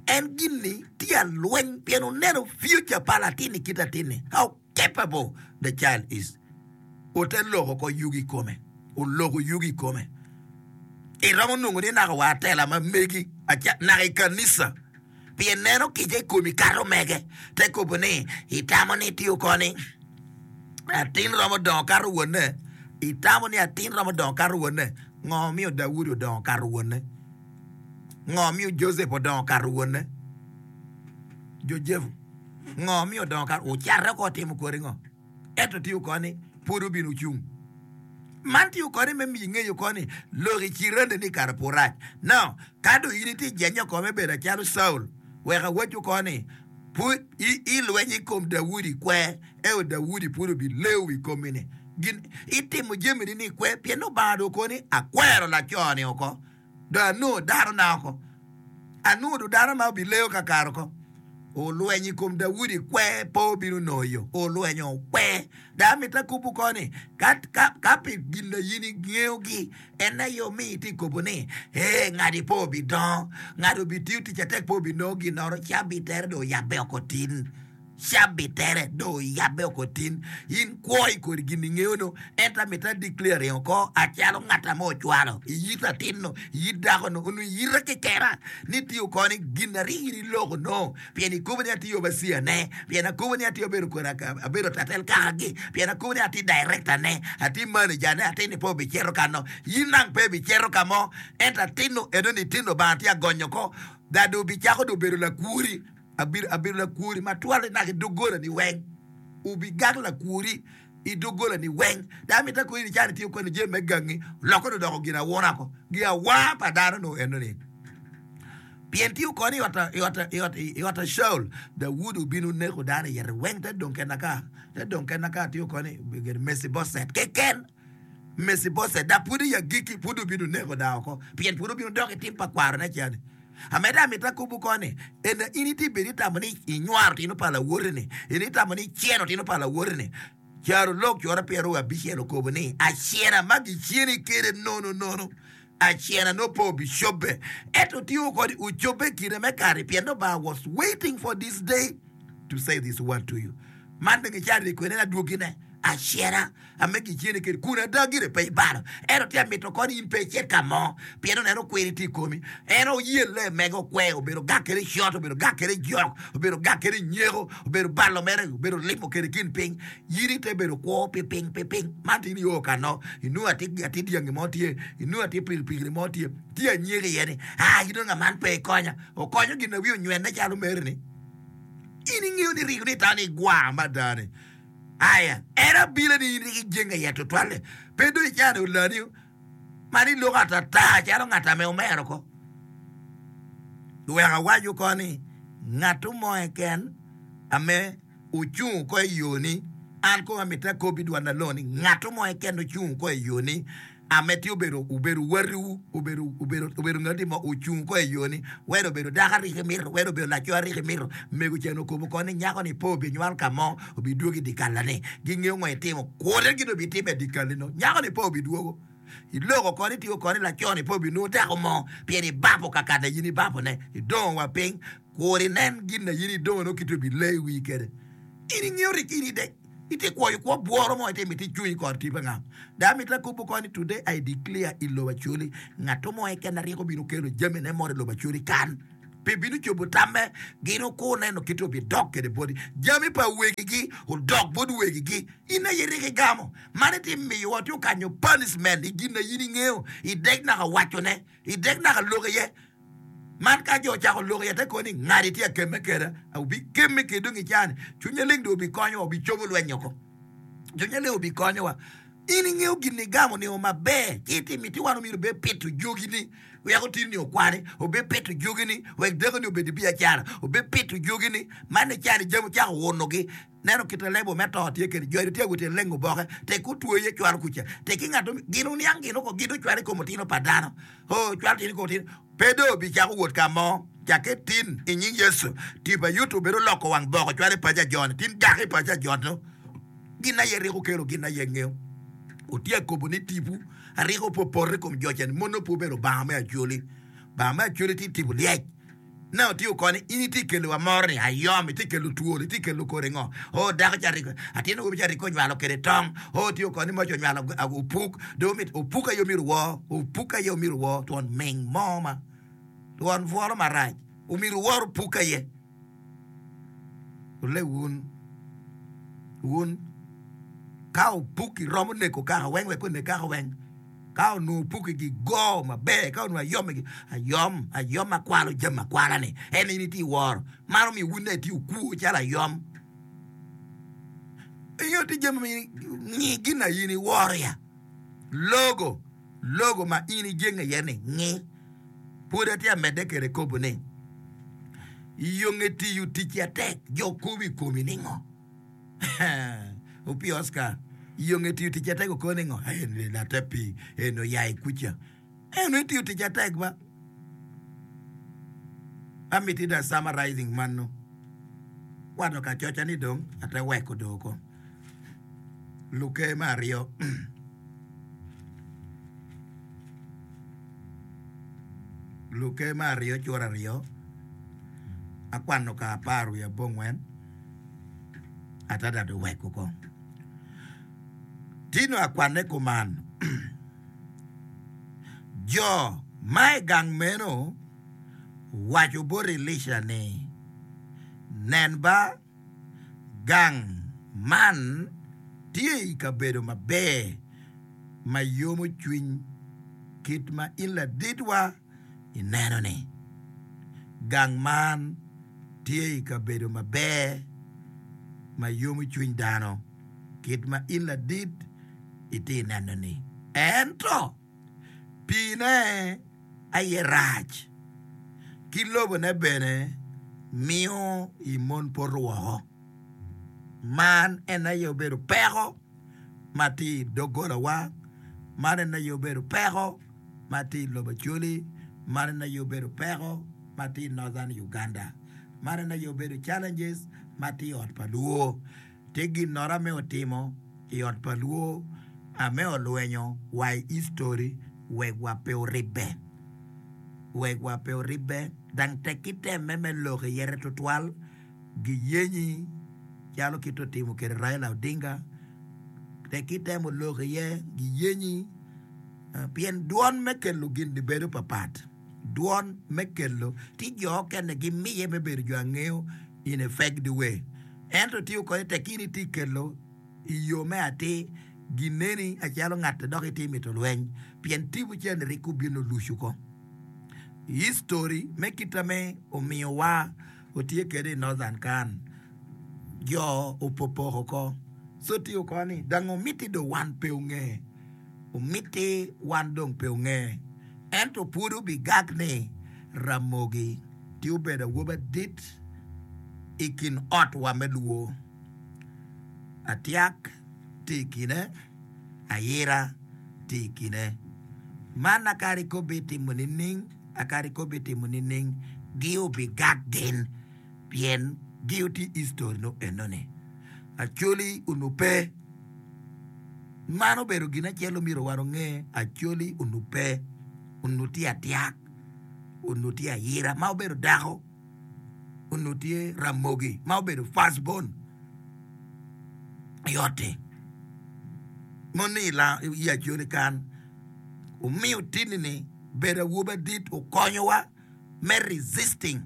en gin-ni tye alweny pien oneno future pa latin-ni kit atin-ni how capable the child is ote loko ko yugi i kome oloko yugi i kome iromo nongo ni naka wa atela ma megi naka i kanisa pien neno kica i komi kato mege te kobo ni itamo ni itiyo koni atin romo dongo kato wonne itamo ni atin romo dongo kato wonne ngo miyo Daudi odongo kato wonne ngo miyo Joseph odongo kato wonne Jojefu ngo miyo odongo kato ocate oko otimo kodi ngo ento tiyo koni pud obino ocung man tiyo koni me miyi ngeyo koni lok i cirande ni kare pud rac now ka dong in itye jenyo oko me bedo acalo Saul wek awacu koni pud ilweny i kom Daudi kwer eo Daudi pud obileo i komi ni gin itimo jamini ni kwer pien Lubanga dong okoni akwero laco-ni oko dong anongo dano na oko anongo dong dano ma obileo kakare oko olwenyo i kom Daudi kwer pe obino nongo yo olwenyo kwer dong amito akubo koni ka, ka, ka pi gin na in ingeyogi en aye omiyo itye kobo ni ee ngadi pe obidongo ngadi obitiyo tic atek pe obinongo ginoro cabi tere dong oyabbe oko tin cabi tere dong oyabbe oko tin in kwo i kodi gin ingeyo no ento amito a declaring oko acalo ngat ame ocwalo iyit atin-nu iyit dako-nu onongo iyita kekena ni tiyo koni gin aryo in iloko no pien ikobo ni atye overseer ne pien akobo ni atye abedo kodi abedo tatel kakagi pien akobo ni atye director ne atye manager ne atin ni pe obicito kano in nang pe ibicito ka mo ento atin-nu enoni tin Lubanga tye agonyo ko da dong obicako dong obedo lakwori abedo lakwori matwal naka i doggola-ni weng obigak lakwori i doggola-ni weng dong amito akoni ni calo itye kwano jami me gangi oloko dong odoko gin awuna ko gin awa pa dano nongo enoni pien tye koni i ot a Caul Daudi obino neko dano iye weng te dong kena ka te dong kena ka tye koni Mecibocet keken Mecibocet dok pud i agikki pud obino neko dano oko pien pud obino dok i tim pa kwarone cani amedde amito akubo koni ena in itye bedo itamo ni inywaro tino pa lawoti-ni in itamo ni iceno tino pa lawoti-ni caro lok coro pyeraryo abicel okobo ni acena ma giceni kede nono nono acena no pe obicobbe ento tiyo kodi ocobbe i kine me kare pien Lubanga was waiting for this day to say this word to you man dong icaro kwene adwogine acena ame giceni kede kun ada gire pe ibalo ento tye amito koni in pe icit ka mo pien oneno kwiri tye i komi en oyelle mege okwe obedo gak kede cot obedo gak kede jok obedo gak kede nyeko obedo balo mere obedo limo kede kin piny in ite bedo kwo pi piny pi piny man tin io kano inongo atir dyangi mo tye inongo atir pikipiki mo tye tye anyeko iye ni aa in dong man pe ikonya okonyo gin na wiye onywene calo mere-ni in ingeyo ni riko ni itamo ni igwar mada ni aya en abila ni in rik ijenge iye tutwalle pe dong icano olani man iloko atata calo ngat ame omero ko wek awaco ko ni ngat mo keken ame ocung ko i yo-ni an kong amito akob i dwan alongo ni ngat mo keken ocung ko i yo-ni ame tye obedo obedo watiwu obedo obedo obedo ngati mo ocung ko i yo-ni weda obedo dako ariko imito weda obedo laco ariko imito mego cen okobo ko ni nyako ni pe obinywal ka mo obidwogo i dye-kalla-ni gingeyo ngo itimo kode gin obitimo i dye-kalli no nyako ni pe obidwogo iloko koni tiyo koni laco ni pe obinongo dako mo pien ibapo kakata in ibapone idongo wa piny kur inen gin na in idongo no kit obileyo i wii kede in ingeyo rik in ide Itye kwoyo kwo bworo mo ite miti cungi kor tipo nga. Da miti lakubo koni today I declare i lobo Acholi ngato mo keken aryeko bino kelo jami ne moro i lobo Acholi kan pe bino cobo tamme gin okur neno kite obidok kede boti jami pa wegigi odok bot wegigi in aye ryeko igamo man iti miyowa tye okanyo punishment i gin na in ingeyo idek naka wacone idek naka lok iye. Man ka jo ocako lok iye te koni ngadi tye akemme keda obikemme kede dong icani cwiny maleng dong obikonyowa obicobo lweny oko cwiny maleng obikonyowa in ingeyo gin igamo nio maber ci iti miti wan omyero obed pito jogini wek otini okwani obed pito jogini wek dekoni obed i biacara obed pito jogini man icani jami ocako wunogi neno kite lebo me to tye kede jo tye awot lengo oboke tek otweye cwalo kuca tek ki ngato gin oniang gin oko gin ocwalo i kom otino pa dano o cwalo tino i kom otino pe do obicako wot ka mo cakke tin i nying Yecu tipo ayuto obedo loko wang boko cwalo i paco ajoni tin gak i paco ajono gin aye ryeko kelo gin aye ngeyo otye akobo ni tipo aryeko pe opoto i kom jo cani mono pe obedo Lubanga me Acholi Lubanga me Acholi tye tipo lyec Ne otiyo koni, in itye kelo wa moro ni ayom, itye kelo twol, itye kelo kore ngo. O dako ca riko, atin awobi ca riko onywalo kede tong. O otiyo koni moc onywalo opuk, do mit opuk aye omyero wor, opuk aye omyero wor, twon ming mo ma, twon bworo marac, omyero wor opuk aye. Ole wun, wun, ka opuk iromo neko kaka weng wek onek kaka weng. Ka onongo opuki gigo maber, ka onongo ayom igi ayom, ayom ma kwalo jami akwala-ni, en in itye i woro. Man omiyo wun dong itye okwo calo ayom. Ingeyo tye jami ma in ngi gin na in iworo ya. Logo, logo ma in ijenge iye ni ngi. Pwod atye amedde kwede kobo ni, i yo nge tiyo ticci atek, jo kobo i komi ningo? Opii Oscar, iyo nge tiyo tic atek okone ngo? Eni late pii, eni oya i kuca. Eno itiyo tic atek ba. Amiti da summarizing mano. Kwano ka coca ni dong ate weko do oko. Luker me aryo. Luker me aryo cura aryo. Akwano ka apar wiye abongwen. Adada dong weko kong. Tino akwanne kuman, Jo ma i gang meno owaco bot Elica ni, Nen ba, gang man tye i kabedo maber ma yomo cwiny kit ma in laditwa ineno-ni. Gang man tye i kabedo maber ma yomo cwiny dano, kit ma in ladit itye neno-ni. Ento piine aye rac, ki lobone bene miyo i mon poto woko. Man en aye obedo peko ma tye i doggolawa, man en aye obedo peko ma tye i lobo Acholi, man en aye obedo peko ma tye i Northern Uganda. Man en aye obedo challenges ma tye i ot pa luo. Tye ginnora me otimo i ot pa luo ame olwenyo wa i history wek wa pe oribbe. Wek wa pe oribbe dang tek ki temme me lok iyete tutwal giyenyi calo kit otimo kede Raila Odinga tek ki temo lok iye giyenyi pien dwon me kelo gin-ni bedo papat. Dwon me kelo tye jo okene gimiye me bedo jo angeyo in a feked way. Ento tiyo kode tek in itye kelo i yo me atir gineni acalo ngat dok itye mito lweny pien tipo cen rik obino lucu ko. History me kita me omiyowa otye kede i Northern kan jo opopoko ko so tiyo ko ni dang omiti do wan pe onge omiti wan dong pe onge. Ento pwod obigak ni Ramogi tye obedo awobi adit i kin otwa me Luo. Atyak tye i kine, Ayira tye i kine. Man akadi ka obitimo nining, akadi ka obitimo nining, gi obigak gin pien gi tye i history no enoni. Acholi onongo pe. Man obedo gin acel omyero wan onge, Acholi onongo pe, onongo tye atyak, onongo tye ayira ma obedo dako, onongo tye Ramogi ma obedo first born. I ot-ti mon ni i Acholi kan omiyo tini-ni bedo awobi adit okonyowa me resisting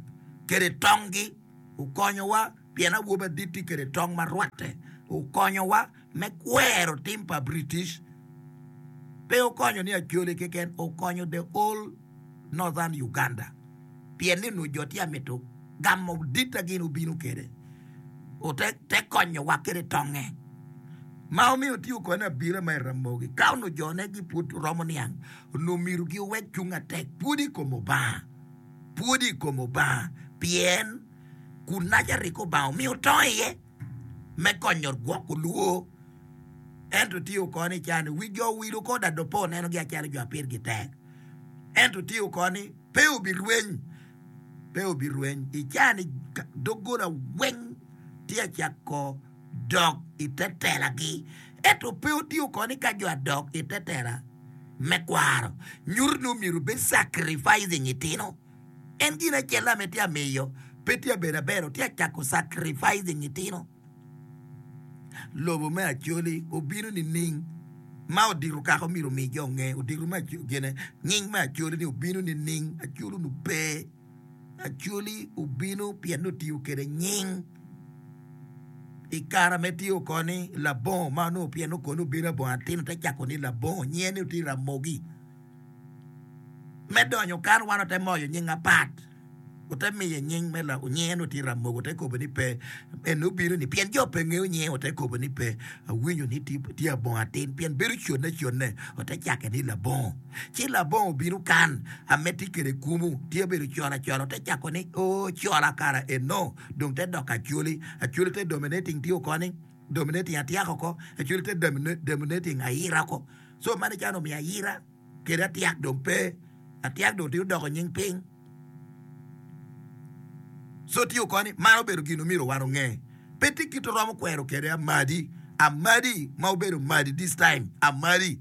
kede tonggi okonyowa pien awobi adit tye kede tong ma rwatte okonyowa me kwero tim pa British pe okonyo ni Acholi keken okonyo the whole Northern Uganda pien ni onongo jo tye amito gamo dit a gin obino kede ote te konyowa kede tonge ma omiyo tye okone abila ma i Ramogi ka onongo jone gi pud romo niang onongo myero gi owek cung atek pwod i kom Obanga pwod i kom Obanga pien kun naca rik Obanga omiyo tong iye me konyo gwoko lwor ento tye okone cani wi jo wilo ko dado pe onenogi acalo jo apirgi tek ento tye okone pe obirweny pe obirweny i cani doggola weng tye acako dok i te telagi ento pe otye okone ka jo adok i te tela me kwaro nyuto ni omyero obed sacrificing itino en gin acel ame tye amiyo pe tye abedo aber tye acako sacrificing itino lobo me Acholi obino nining ma odito kaka omyero omi jo nge odito me gine nying me Acholi ni obino nining Acholi onu pe Acholi obino pien ni otiyo kede nying i kare me tye okoni labongo ma onongo pien okoni obino abongo atin te cako ni labongo nyinge ni otye Ramogi me donyo kan wan ote moyo nying apat ote miye nying me nyinge ni otye Ramogi ote kobo ni pe en obino ni pien jo pe ngeyo nyinge ote kobo ni pe awinyo ni tye abongo atin pien bedo conne conne ote cake ni labongo ci labongo obino kan ame tye kede kumu tye obedo cola cola ote cako ni o cola kara eno dong te dok Acholi Acholi te dominating tye okoni dominating atiak oko Acholi te dominating ayira oko so mano calo omiyo ayira kede atiak dong pe atiak dong tye odoko nying piny so tye okoni man obedo gin omyero wan onge pe tye kit oromo kwero kede amadi amadi ma obedo madi this time amadi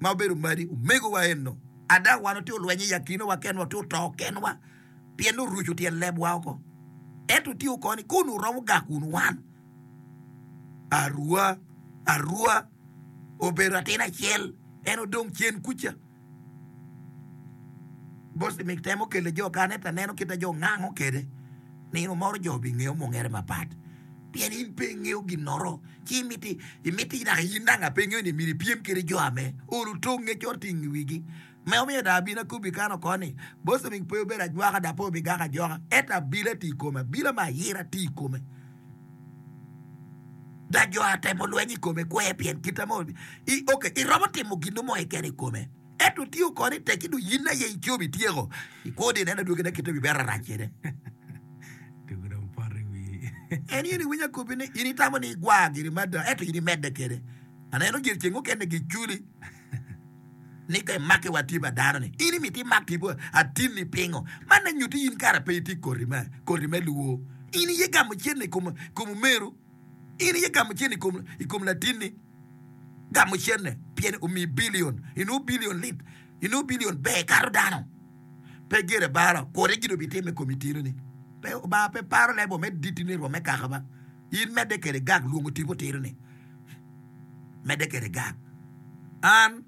ma obedo madi omegowa eno ada wan otye olwenyo i akinowa kenwa otye oto kenwa pien oruco tyen lebwa oko ento tye okoni kun oromo gak wunu wan arua arua obedo atin acel en odong cen kuca Bosmik temo kelo jo kan ento aneno kit ma jo ngango kede nino moro jo obingeyo mungere mapat pien in pe ingeyo ginoro ci imiti imiti naka in nanga pe ingeyo ni myero ipyem kede jo ame olo tonge cot tye i wigi me omiyo dong abino akobi kan oko ni Bosmik pe obedo ajwaka dok pe obigako ajoka ento abila tye i kome abila me ayira tye i kome da jo atemo lweny i kome kwe pien kite mo ok iromo timo gin mo keken i kome ento tye okoni tek dong in aye icobo ityeko ikwo di ineno adwogine kite bibedo rac kwede Tugo dong poto i wi. En in iwinyo akobi ni in itamo ni igwar giri mada ento in imedde kede aneno gir ceng mukene giculi ni ka imaki wa tipo dano ni in imiti imak tipo atinni pingo man ne nyuti in kara pe itye koti me koti me luo in iye gamo cene i kom kom omeru in iye gamo cene i kom i kom latinni gamo cene pien omi bilion inongo bilion lit inongo bilion ber kato dano pe gire bara kode gin obitime i kom itino-ni pe Obanga pe paro lebo me ditini rwom me kaka ba in medde kede gak lwongo tipo tino-ni medde kede gak an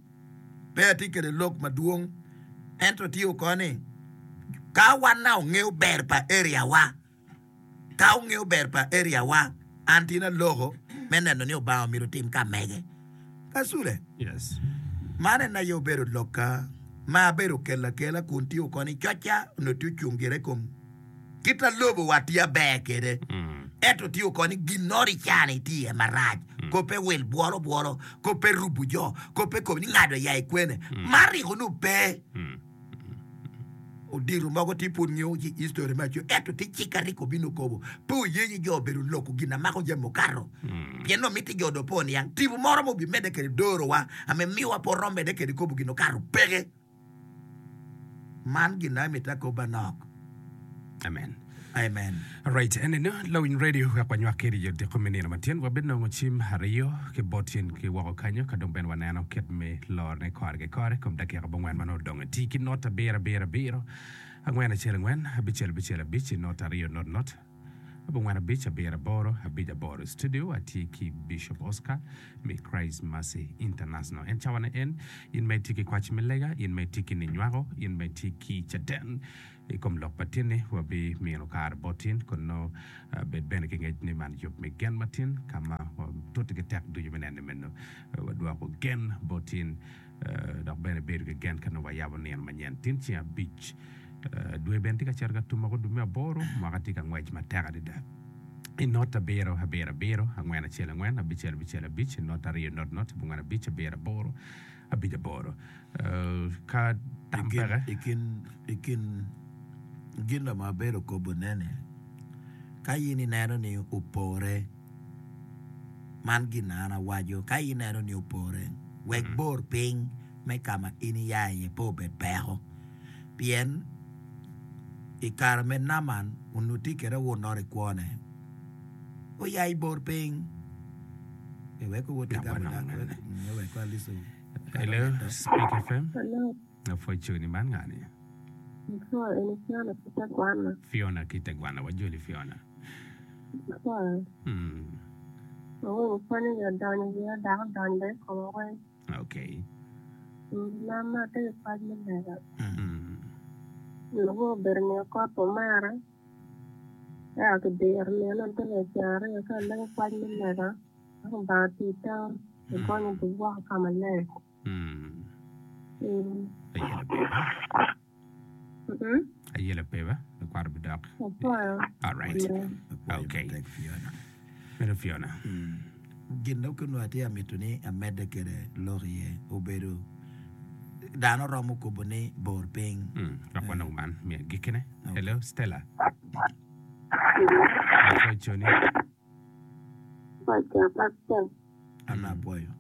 pe atye kede lok madwong ento tye okoni ka wan na ongeyo ber pa area wa ka ongeyo ber pa area wa an tye na loko me neno ni Obanga omyero otim ka mege kasule Yes. man en aye obedo lokka ma abedo kelo akela kun tye okoni coca onongo tye ocung gire i kom kit a lobo wa tye aber kede ento tye okoni ginoro i cani tye iye marac kope wil bwolo bwolo kope rubo jo kope kobo ni ngado ya i kwene man riko nu pe odiro mogo tye pud ngeyo ci history me aco ento tye cik ariko bino okobo pe oyenyi jo obedo loko gin amako jami mukato pien no miti jo do pe oniang tipo moro mo obimedde kede dorowa ame miwa pe orom medde kede kobo gin okato peke man gin na miti akoba nok Amen. amen Alright, eneno Lawiny Radio wek wanywak kedi i odiko me nino matyen wabinongo cim aryo ki bot cen ki woko kanyo ka dong bene waneno kit me lorne kore ki kore kom dakika abongwen ma nongo odong ti ki not abiro abiro abiro angwen acel angwen abicel abicel abic not aryo not not Abongwen abic abiro aboro abic aboro. I studio atye ki Bishop Oscar me Christ Mercy International. En cawa ne en in ma itye ki kwac me lega, in ma itye ki ninywako, in ma itye ki caden i kom lok pa tin-ni, wabimino kare bot in kun nongo bed bene ki ngec ni man yub me gen matin ka ma watute ki tek ducu me neno ni meno wadwoko gen bot in dok bene bedo ki gen ka nongo wayabo nino manyen. Tin ceng abic dwe bene tye ka cito ka tum woko dwe me aboro, mwaka tye ka ngwec matek adada. I not abiro abiro abiro angwen acel angwen abicel abicel abic not aryo not not abongwen abic abiro aboro abic aboro. Ka tam peke. I kin i kin gin ma abedo kobone-ni, ka in ineno ni opore, man gin ma an awaco, ka ineno ni opore, wek bor piny me ka ma in iya iye pe obed peko. Pien i kare me Naaman onongo tye kwede awunnoro i kwone, oya i bor piny. Hello, Speak F M. Hello. Apwoc coni man ngani? Apwoyo eni Fiona ki Tegwana. Fiona ki Tegwana, wajoli Fiona. Apwoyo. Mm. Awinyo pwonyo ni odonyo wiya dok odonyo bene i koma weng. Okay. Mm, Mama atye ki kwac me lega. Mm. Lubo obedo niyo kot pa omera. Eka kidiro nino te ceng aryo ka alego kwac me lega. Eka Lubanga tii teko ogonyo dog woko ka maleng. Mm. Mm. Ayela peba. Mm-mm. Ayela peba. Lakwaro bidok. Apwoyo. All right. Yeah. Okay. Matek Fiona. Meno Fiona. Gin ma onongo atye ka mito ni amedde kwede lok iye obedo dano romo kobo ni bor piny. Mm. Dok wanong man me agikkine. Okay. Hello, Stella. Apwoyo coni. Apwoyo pastor. An apwoyo.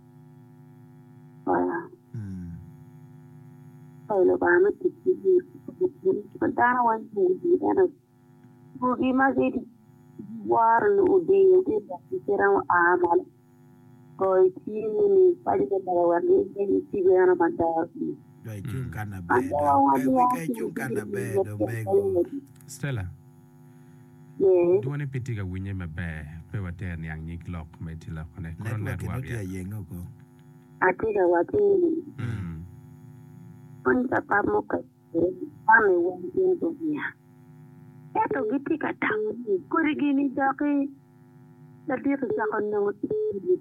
Apwoyo. Mm. Apwoyo Lubanga me tic ki ji. Dano weng bugi ento bugi ma giworo ni odiyo ki kite oa malo goyo cim ni paco me lega wek giyeny tipo eno maber. Do icung ka maber do. Ka icung ka maber do mego. Stella. Yes. Dwone pe tye ka winye maber. Pe water niang nyig lok ma itye lokone. Kono Network network eno tye ya. ayenge oko. Atye ka waco ni Mm. pwony pa mukene kwane weng gin gunia. Ento gitye ka tamo ni kodi gini doki ladit ocako nongo tic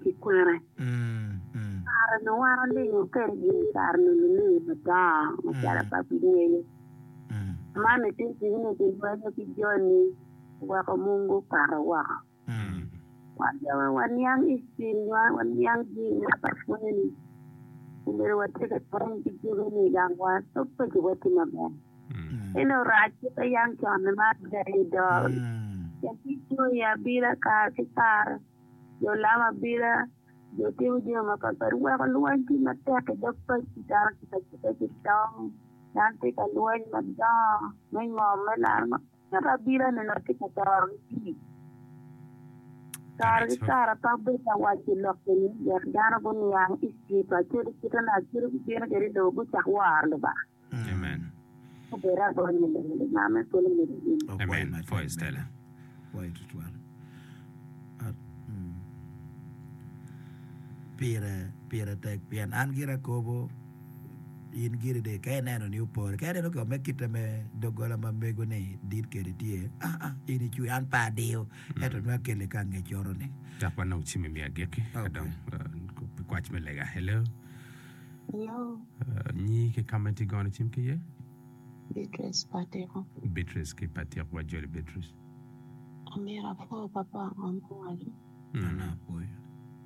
ki kwene. Mm. Mm. Kare ni wan olingo kede gin kare ni lulingo madongo macalo Mm. pa gingeyo. Mm. Man itye ni gilwenyo ki joni oweko mungu okato woko. Mm. Wan jo waniang history waniang gin ma pa pwonyo obedo watye ka pwony ki jogi ni gang wan paci watye maber. Mm. Eno rac pe yang con ma ber do. Mm. Nyathi i abila kare ki kare, jo lamo abila, jo timo jami mapatpat weko lweny tye matek i dog paci dano tye ka cito ki tong, dano tye ka lweny madongo me ngom me laro ento abila ni tye ka toro ki pii. Kare ki kare pe abedo ka waco lok eni wek dano guniang history pa Acholi kite na Acholi gubino kwede i lobo gucak woro Lubanga. Amen. Obedo agonya i lobo Lubanga me polo medo gin. Opwoyo Amen. matek Pwoyo Stella. Pwoyo tutwal. At, mm. Pire pire tek pien an gira kobo in giri de ka ineno ni opore ka ineno ko me kite me doggola ma mego ni dit kede tye ah ah in icwe an pe adiyo ento nongo akele ka ngec oro ni Dok wanong cim i me agikki. Ka Okay. dong uh, kwac me lega. Hello. Hello, Uh, nyi ki ka ma itye gono cim ki iye? Beatrice Patiko. Beatrice ki Patiko wajoli Beatrice. Amiro apwo papa ngo muwaco. An Mm. apwoyo.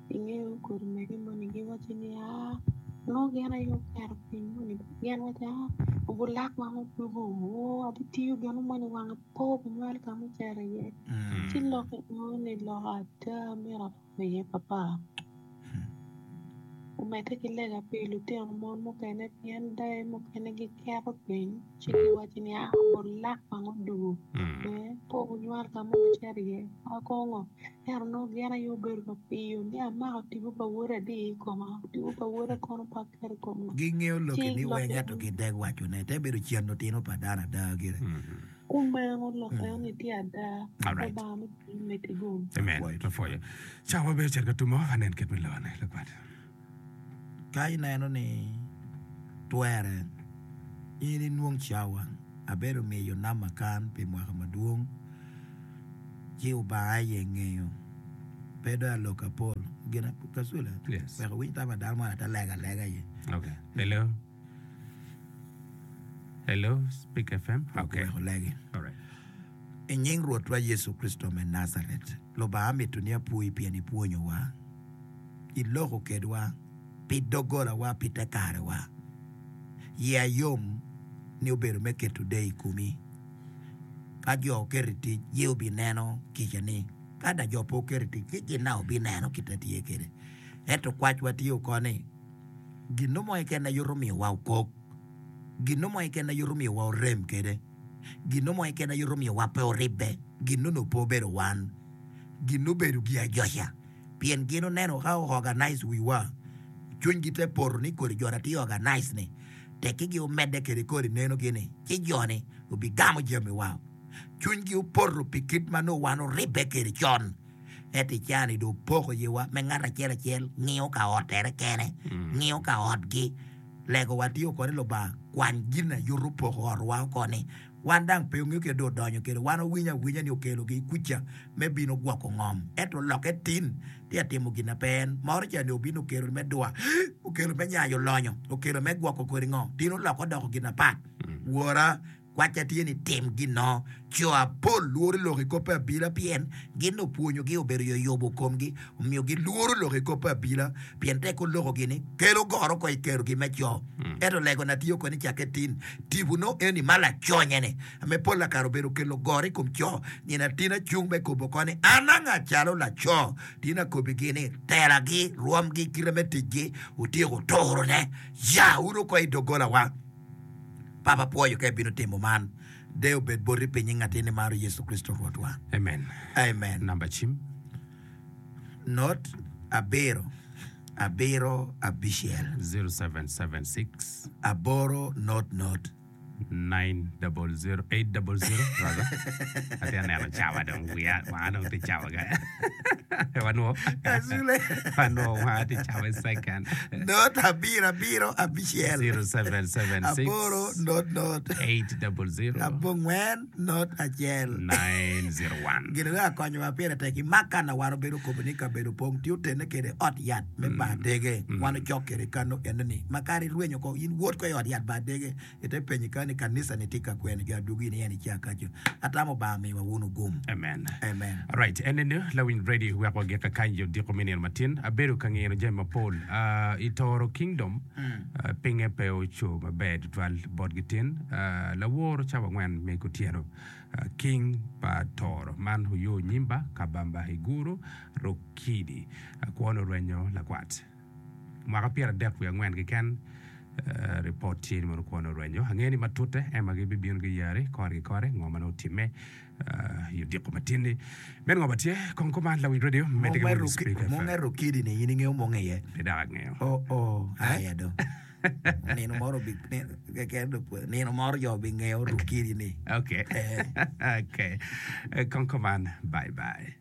Ingeyo kodi mege moni giwaco ni aa nongo gin aye oketo piny moni gin waco aa obulak wang otuko oo abitiyo gin moni wange po binywalo ka mucito iye Mm. ci lok enoni ni lok ada myero apwo iye papa omedde ki lega pi lutino mon mukene pien dayo mukene giketo piny ci giwaco ni aa obulak wang odugo Mm. eh, po bunywal ka mo mucito iye akongo ento nongo gin aye obedo ka piyo ni amako tipo pa woda adi i koma tipo pa woda kono pe aketo i koma Gingeyo ci loki ni lok weng ento gideg wacone te bedo cen otino pa dano ada gire. Mm. Kumeno lok eno ni tye ada. All right. Lubanga me polo medde gum. Amen. Wapwoyo. Cawa bene ocito ka tumo, anen kit me lone lakwat. Ka ineno ni twere, in inwong cawa. Abedo miyo namba kan pi mwaka madwong, ci Obanga aye ngeyo. Pe dong alok apol. Gin kasule, Yes. wek owiny tam pa dano mo ate alega alega iye. Okay. Hello. Hello, Speak F M. Okay. Wek olegi. All right. I nying Rwotwa Yecu Kricito me Najaret, Lubanga amito ni apwoyi pien ipwonyowa, iloko kedwa pi doggolawa pi te karewa. Yia yom ni obedo me keto deyo i komi. Ka jo oketo i tic, ye obineno kicani. Ka da jo pe oketo i tic, ci gin na obineno kite tye kwede. Ento kwacwa tye oko ni, gin mo keken na yuto miyowa okok, gin mo keken na yuto miyowa orem kwede, gin mo keken na yuto miyowa pe oribbe, gin onongo pe obedo wan, gin obedo gi ajoca. Pien gin oneno ka organize wiwa, cwinygi te poto ni kodi jo na tye organize ni, tekki gi omedde kede kodi neno gini, ci joni obigamo jamiwa. Cwinygi opoto pi kit ma nongo wan oribbe kede con. Ento i caa-ni dong opoko yiwa me ngat acel acel ngiyo ka ottere kene, ngiyo ka otgi. Legowa tye oko ni Lubanga kwany gin na yuto poko otwa oko ni wan dang pe ongeyo kit dong odonyo kede wan owinyo awinya ni okelogi kuca me bino gwoko ngom ento lokke tin tye atimo gin na pe en moro ca ni obino okelo me dwa okelo me nyayo lonyo okelo me gwoko kodi ngo tin oloko odoko gin apat wora kwacca tye ni tim gino co apol lworo lok i kop abila pien gin opwonyogi obedo yoyobo komgi omiyo gilworo lok i kop abila pien tek olokogi ni kelo goro ko i kerogi me co ento lego na tye oko ni cakke tin tipo no eni ma laconye-ni ame pol lakare obedo kelo goro i kom co nino atina cung me kobo oko ni an anga calo laco tin akobigi ni telagi rwomgi kite me ticgi otyeko turone ya wun oko i doggolawa. Papa pwoyo ka ibino timo man. Deyo obed boti piny i ngatini maro Yecu Kricito Rwotwa. Amen. Amen. Namba cim. Not abiro abiro abicel. zero seven seven six. Aboro not not. nine double zero eight double zero rather. Atye aneno cawa dong wiya wanga dong tye cawa ga. Wanwo. Azule. Wanwo wanga tye cawa i second. Not abiro abiro abicel. zero seven seven six. Aboro not not. eight double zero. Abongwen not acel. nine zero one. Gin wek akonyowa pire tek imak kana wan obedo kobo ni kabedo pong tye otene kede ot yat me bar dege wan ocok kede kano enoni ma kare irwenyo ko in wot ko i ot yat bar dege ite penyi ka ni kanisa ni tye ka kwene jo adwogi ni en ica kaco atamo Obanga miwa wun ogum. Amen. Amen. Alright, enene Lawiny Radio wek wagika kany yo diko me nino matin. Abedo ka ngino jami mapol. Uh, i Toro Kingdom, uh, pinge pe oco maber tutwal botgi tin. Uh, lawor cawa angwen me kutyeno. Uh, King pa Toro. Man oyo nyimba Kabamba Iguru Rukidi. Uh, kwon orwenyo lakwat. Mwaka pyera adek wiye angwen keken uh, report tye ni mono kwon orwenyo. Angeyo ni matute ema gibibino giyari kore ki kore ngo ma nongo otimme uh, i odiko matin-ni. Meno ngo ma tye kong kuman Lawiny Radio medde ki winyo Speak Mong F M. Rukidi ni in ingeo mong iye. Pe dok angeyo. Oh oh aya do. Nino moro bi keken do nino moro jo bi ngeo Rukidi ni. Okay. Eh. Okay. Eh, Kong kuman, bye bye.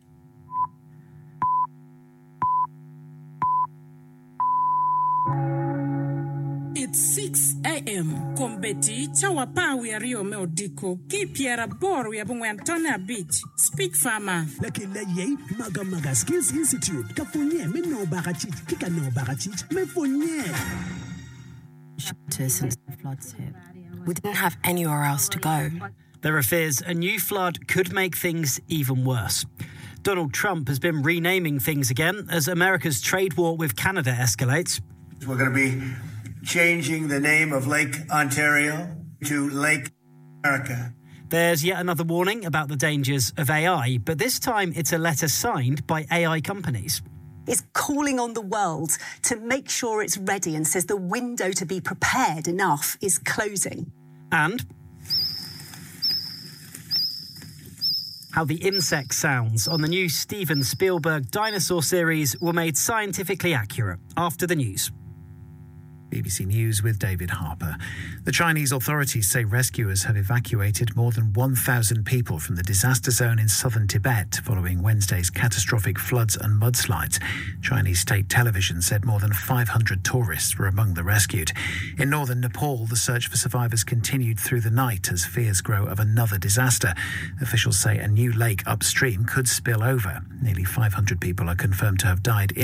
It's six A M. Kombeddi cawa apar wiye aryo me odiko ki pyeraboro wiye abongwen tonne abic. Speak Farmer. Lakella yei Maga Maga Skills Institute ka pwonye me nongo bakacic ki ka nongo bakacic me pwonye. Shelter since the floods hit. We didn't have anywhere else to go. There are fears a new flood could make things even worse. Donald Trump has been renaming things again as America's trade war with Canada escalates. We're going to be changing the name of Lake Ontario to Lake America. There's yet another warning about the dangers of A I, but this time it's a letter signed by A I companies. Is calling on the world to make sure it's ready and says the window to be prepared enough is closing. And how the insect sounds on the new Steven Spielberg dinosaur series were made scientifically accurate after the news. B B C News with David Harper. The Chinese authorities say rescuers have evacuated more than one thousand people from the disaster zone in southern Tibet following Wednesday's catastrophic floods and mudslides. Chinese state television said more than five hundred tourists were among the rescued. In northern Nepal, the search for survivors continued through the night as fears grow of another disaster. Officials say a new lake upstream could spill over. Nearly five hundred people are confirmed to have died in